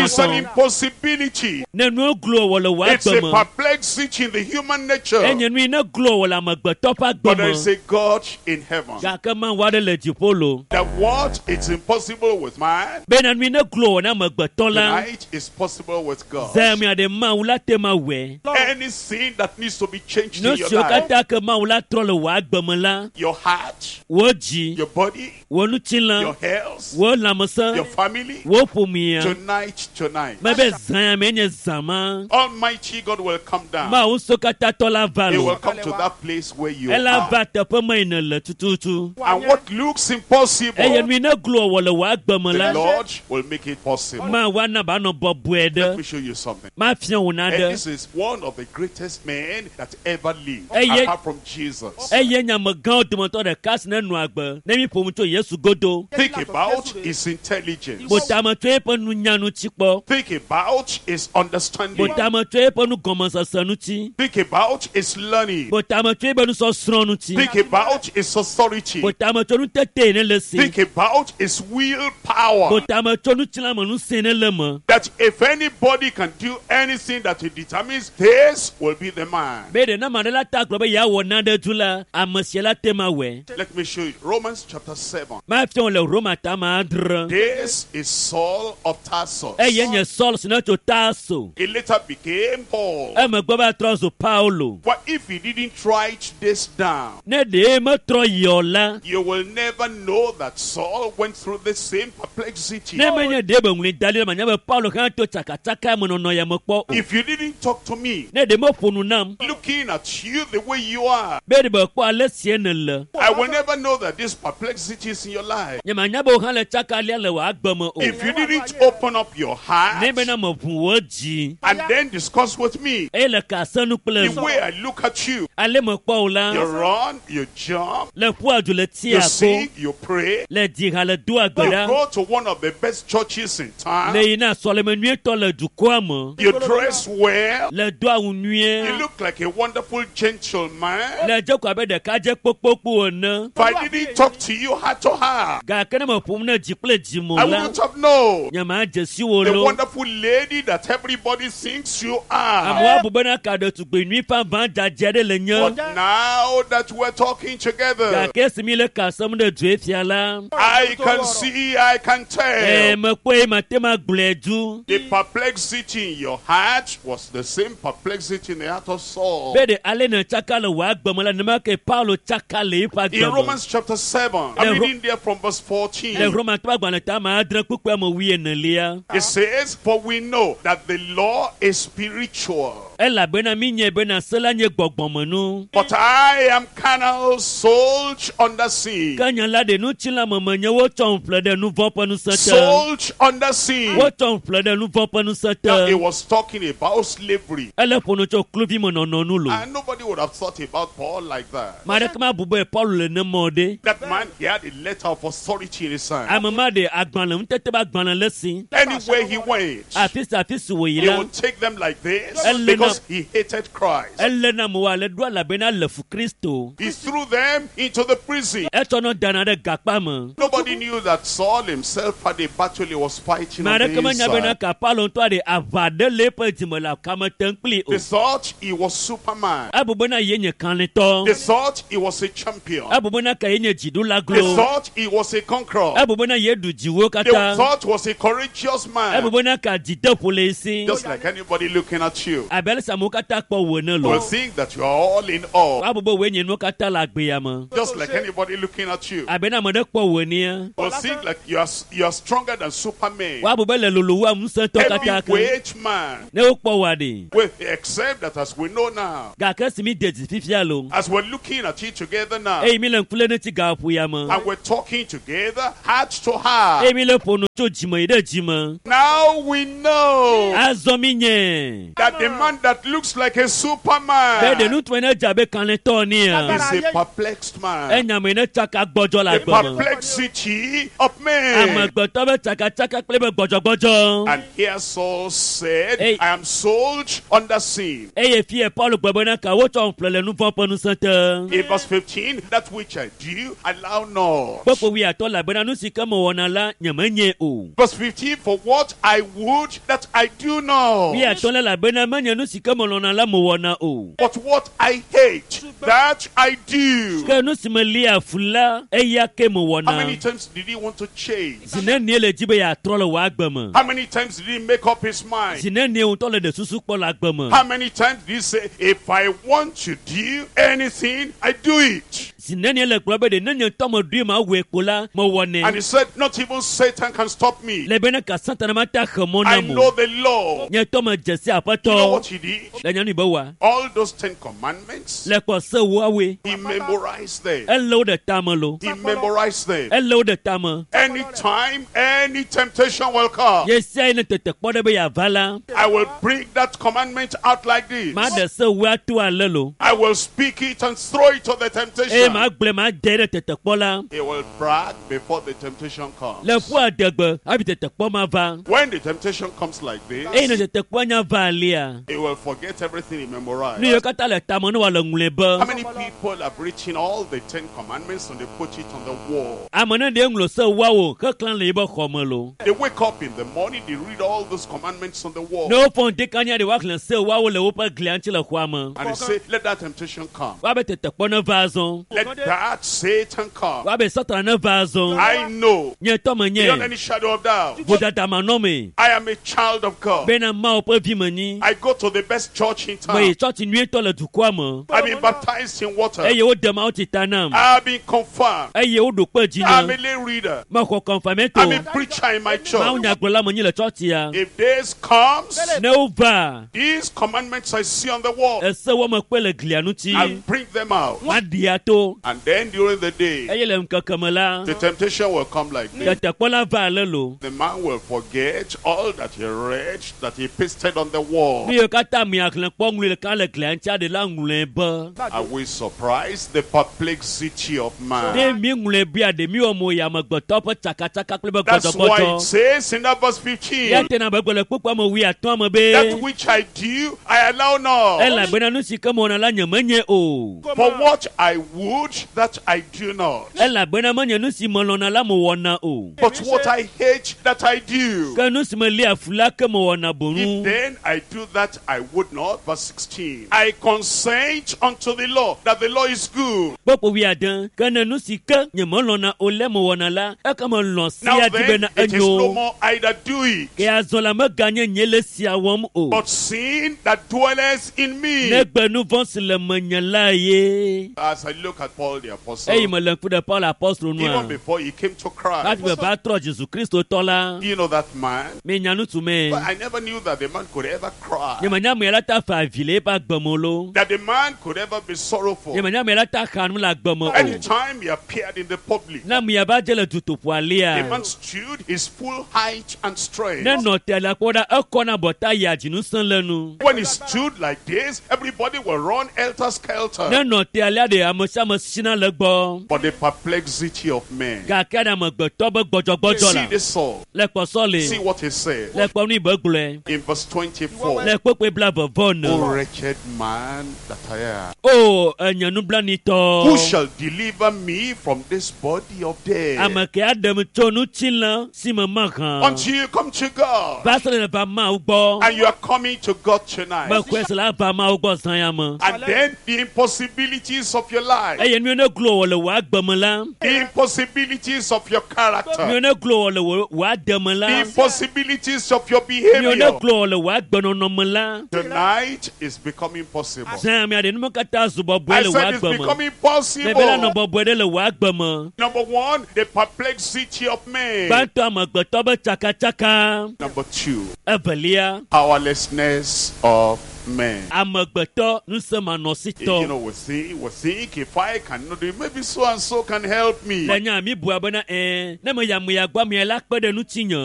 It's an ŋɔtaŋɔtɔ. impossibility. Ne nuwo glo wɔ le wò It's a agbe me, perplexity in the human nature. enye nu yi ne glo wɔ le amegbetɔ ƒe agbe But there me. is a God in heaven. Gake Mawu aɖe le dziƒo lo. That what is impossible with man, Bena nu yi ne glo wɔ na amegbetɔ la, tonight is possible with God. zã mea ɖe Mawu la te ma wɔe. Anything that needs to be changed Nu in your siwo life, katã ke Mawu la trɔ le wò agbe me la, your heart, wò dzi, your body, wò ŋutilã, your health, wò lãmesẽ, your family, wò ƒomea. tonight, tonight, Mebe zã ya mee nye zã ma. Almighty God will come down. Mawu ŋusẽkatãtɔ la va He will lo. come to that place where you Ela are. va teƒe me yi nèle tututu. And what looks impossible, Eye nu yi ne glo wɔ le wò agbe me the la, Lord will make it possible. Mawu ana be anɔ bɔbɔe Let ɖe. me show you something. Mafia wò And naɖe. this is one of the greatest men that ever lived, Eh, yeah. apart from Jesus. Eye nye amegãwo dometɔ ɖeka si ne nɔ agbe ne mi ƒo nu tso Yesu godo. Think about his intelligence. Botame tso eƒe nunya ŋuti kpɔ. Think about his understanding. Botame tso eƒe nugɔmesese ŋuti. Think about his learning. Botame tso eƒe nusɔsrɔ̃ ŋuti. Think about his authority. Botame tso nutete ne le si. Think about his willpower. Botame tso ŋutilãme ŋusẽ ne le me. That if anybody can do anything that he determines, this will be the man. Be ɖe ne ame aɖe la ta gblɔ be yeawɔ nane du la, ame sia la te ma wɔe. Let me show you. Romans chapter seven. Mafia wò le Roma tame adre. This is Saul of Tarsus. Eye nye Saul si ne tso Tarso. He later became Paul. Emegbe va trɔ zu Paulo. But if he didn't write this down, Ne ɖe metrɔ yi o la, you will never know that Saul went through the same perplexity. ne menye ɖe be ŋlɔe da ɖi la, manya be Paulo hã to tsakatsaka me nɔnɔ ya me kpɔ o. If you didn't talk to me, Ne ɖe meƒo nu nam looking at you the way you are, be ɖe be kpɔ ale sie nèle, I will never know that this perplexity is in your life. nye Nyemanya be wo hã le tsaka lia le wò agbe me o. If you didn't open up your Ne heart bena meʋu wò dzi and then discuss with me, eye le ka se nu kple the way I look at you, ale mekpɔ wò la you run, you jump, le ƒua du le you tia ko sing, you pray, le dzi ha le doa gbe you ɖa go to one of the best churches in town, le yina sɔleme nyuietɔ le dukɔa me you dress well, le do awu you nyuie look like a wonderful gentleman. le dze ko abe ɖekadze kpokpokpo ene If I didn't talk to you heart to heart, gake ne meƒom ne dzi kple dzi me I o la wouldn't have known nyemadze si wo the lo wonderful lady that everybody thinks you are. amewo abu bena ka ɖetugbi nyui vavã dzadze ɖe le nye But now that we're talking together, gake esi mi le ka sem ɖe dzoe fia la I can see, I can ee tell. mekpɔe mate ma gblɔe du The perplexity in your heart was the same perplexity in the heart of Saul. be ɖe ale ne tsaka le wò agbe me la nenema ke Paulo tsaka le eƒe In agbe me Romans chapter seven, I'm Le Ro- reading there from verse le fourteen. Romatɔ ƒe agbalẽ ta ame adre kpukpui ame wuienelia It says, For we know that the law is spiritual, elabena mi nye bena se la nye gbɔgbɔmenu but I am carnal, sold under sin. ke nye la ɖe ŋutilãmeme nye wotsɔm ƒle ɖe nu vɔ̃ ƒe ŋusẽ te Sold under sin. wotsɔm ƒle ɖe nu vɔ̃ ƒe ŋusẽ Now, te he was talking about slavery. ele ƒo nu tso kluvimenɔnɔ nu lo And nobody would have thought about Paul like that. ame aɖeke mabu be Paulo le nemɔ ɖe That man, he had a letter of authority in his hand. ame ma ɖe agbalẽ ŋutete be agbalẽ le si Anywhere he went, afi sia afi si wòyi he la would take them like this Elena- because he hated Christ. ele na amewo ale ɖo elabena le fu Kristo He threw them into the prison. etsɔ nɔ dana ɖe gakpa me Nobody knew that Saul himself had a battle he was fighting ame on the aɖeke menya bena inside. ka Paulo ŋutɔ ɖe aʋa ɖe le eƒe dzime le kame tem kpli o They thought he was Superman. ebu bena ye nye kalẽtɔ They thought he was a champion. ebu bena ka ye nye dziɖula They glo thought he was a conqueror. ebu bena ye ɖu dziwo They katã thought he was a courageous ebu man. bena ka dzideƒo le esi Just like anybody looking at you abe ale si amewo katã kpɔ wò ene will lo think that you are all in all. woabu be wòe nye nuwo katã le agbea me Just like anybody looking at you abe ne ame ɖe kpɔ wò enea will think like you are, you are stronger than Superman. woabu be le lolo wu ŋusẽtɔ katã ke Heavyweight man. ne wokpɔ wòa ɖe Well, except that as we know now, gake esi mi de dzi fifia lo as we're looking at it together now, eye mi le ŋku lé ŋuti gaƒo ya me and we're talking together heart to heart, eye mi le ƒo nu tso dzime yi ɖe dzime now we know azɔ mi nye that the man that looks like a be ɖe Superman ŋutsu ne dze abe kalẽtɔ nea is a perplexed man. enya me ne tsaka gbɔdzɔ le The agbe me perplexity of men. amegbetɔ be tsakatsaka kple be gbɔdzɔgbɔdzɔ And here Saul said, Hey. I am sold under sin. eye fie Paulo gblɔ bena ka wotsɔ ƒle le nu vɔ̃ ƒe ŋusẽ te In verse fifteen, that which I do, allow not. kpekpe wuiatɔ elabena nu si ke mewɔna la nyemenye o Verse fifteen, for what I would, that I do not. wuiatɔ la elabena menye nu si ke melɔ̃na la mewɔna o But what I hate, that I do. ke nu si melia fu la eya ke How many mewɔna times did he want to change? zi nenie le dzi be yeatrɔ le wò agbe me How many times did he make up his mind? zi nenie ŋutɔ le ɖe susu kpɔ le agbe me How many times did he say, if I want to do anything, I do it? zi nenie le gblɔ be ɖe ne nye ŋutɔ meɖoe mawɔe kpo la mewɔnɛ And he said, not even Satan can stop me. le bena ka Satana mate axe mɔ I nam know o the law. nye ŋutɔ medze si You know aƒetɔ what he did? le nyanu be wa All those Ten Commandments, le kpɔ se woawoe he memorized them. ele wo ɖe tame lo He memorized them. ele wo ɖe tame Anytime, any temptation will come, ye sia yi ne tetekpɔ ɖe be yeava la I will bring that commandment out like this. maɖe se woa to ale lo I will speak it and throw it to the eye temptation. magblɔe made ɖe tetekpɔ la He will brag before the temptation comes. le ƒua adegbe hafi tetekpɔ ma va When the temptation comes like eye ne this, tetekpɔa nya va alia he will forget everything he memorized. nu yiwo katã le tame ne wòale ŋlɔe How be many people have written all the Ten Commandments and they put it on the wall? ame ne ɖe ŋlɔ se woawo heklã le yibe xɔ me lo They wake up in the morning, they read all those commandments on the wall. ne wofɔ ŋdekanya ɖe woaxlẽ se woawo le woƒe glia ŋuti le xɔa me And they say, let that temptation come. woabe tetekpɔ ne va azɔ Let that Satan come. woabe Satana ne va azɔ I know, nye tɔ menye beyond any shadow of doubt, vodada manɔmee I am a child of God. bena Mawu ƒe vi menyi I go to the best church in meyi town. tsɔtsi nyuietɔ le dukɔa me I've been baptized in water. eye wode Mawu tsi ta nam I've been confirmed. eye woɖo kpe dzi I'm nye a lay reader. mexɔ kɔnfamɛto I'm a preacher in my Mawu church. nyagblɔla menyi le tsɔtsia If this comes, ne wova these commandments I see on the wall, ese wo me kpe le glia ŋuti I'll bring them out. maɖia to And then during the day, Eye le ŋkeke me la, the temptation will come like this. tetekpɔ la va ale lo. The man will forget all that he read, that he pasted on the wall. Nu yiwo katã mia xlẽ kpɔ ŋlɔe ɖeka le glia ŋuti aɖe la ŋlɔe be. Are we surprised? The perplexity of Ɖe man. mi ŋlɔe bia ɖe mi wɔ mo yi amegbetɔ ƒe tsakatsaka kple be That's why it gbɔdzɔgbɔdzɔ. says in that verse fifteen, Ya tena be gblɔ le kpukpua me wuiatɔ̃ me be. that which I do, I allow not. Elabena nu si ke mewɔna la nye menye o. For what I would, that I do not. Elabena menye nu si melɔ̃na la mewɔna o. But what I hate, that I do. Ke nu si melia fu la ke mewɔna If boŋu. then I do that I would not, verse sixteen, I consent unto the law, that the law is good. Kpukpui wuiade, ke ne nu si ke nye melɔ̃na o le mewɔna la, eke melɔ̃ Now sia di then, bena it is no enyo. more I that do it, Ke azɔ la meganye nye le sia wɔm o. but sin that dwelleth in me. Negbe nu vɔ̃ si le menye la ye. As I look at Paul the Apostle, Eyi mele ŋku ɖe Paul apostolo even nua. before he came to Hafi Christ, be va trɔ Jesu Kristo tɔ la, you know that man? minya ŋutsu me. But I never knew that the man could ever cry, Nye menya ame la ta fa avi le eƒe agbe me o lo. that the man could ever be sorrowful. Nye menya ame la ta xa nu le agbe me o. Anytime he appeared in the public, Ne ame ya va dze le dutoƒo alia, the man stood his full height and strength. ne nɔ te la kpɔ ɖa, ekɔna bɔta yia dzinusẽ le nu. When he stood like this, everybody will run helter skelter. Ne nɔ te alea ɖe ame sia ame sina le gbɔ. But the perplexity of men. Gake ɖe amegbetɔ be gbɔdzɔgbɔdzɔ See la, this Saul. le kpɔsɔ See le, what he said le kpɔ nu yi be gblɔe, in verse twenty-four. le kpekpe bla vevɔ ne. O wretched man that I am. O enye Who nublanuitɔ. shall deliver me from this body of death? Ame ke aɖem tso ŋutilã si me mahã. Until you come to God. Va se ɖe va Mawu gbɔ. And you are coming to God tonight. Mexɔe se la va Mawu gbɔ zã ya me. And then the impossibilities of your life, Eye nu yiwo ne glo wɔ le wò agbe me la, the impossibilities of your nu character, yiwo ne glo wɔ le wò wò ade me the la, impossibilities of your nu yiwo ne behavior. glo wɔ le wò agbenɔnɔ me la, Tonight is becoming possible. zã ya mea ɖe nume katã zu bɔbɔe I le wò said it's agbe me. becoming Mebe la nɔ possible. bɔbɔe ɖe le wò agbe me. Number one, the perplexity of men. Gbãtɔ amegbetɔ be tsakatsaka. Number two, Evelia, powerlessness of men. amegbetɔ ŋusẽmanɔsitɔ. You know, we think, we think if I cannot do it, maybe so and so can help me. Le nya mi bua bena ɛɛ ne me ya me ya gbɔ amea la kpe ɖe ŋutinye.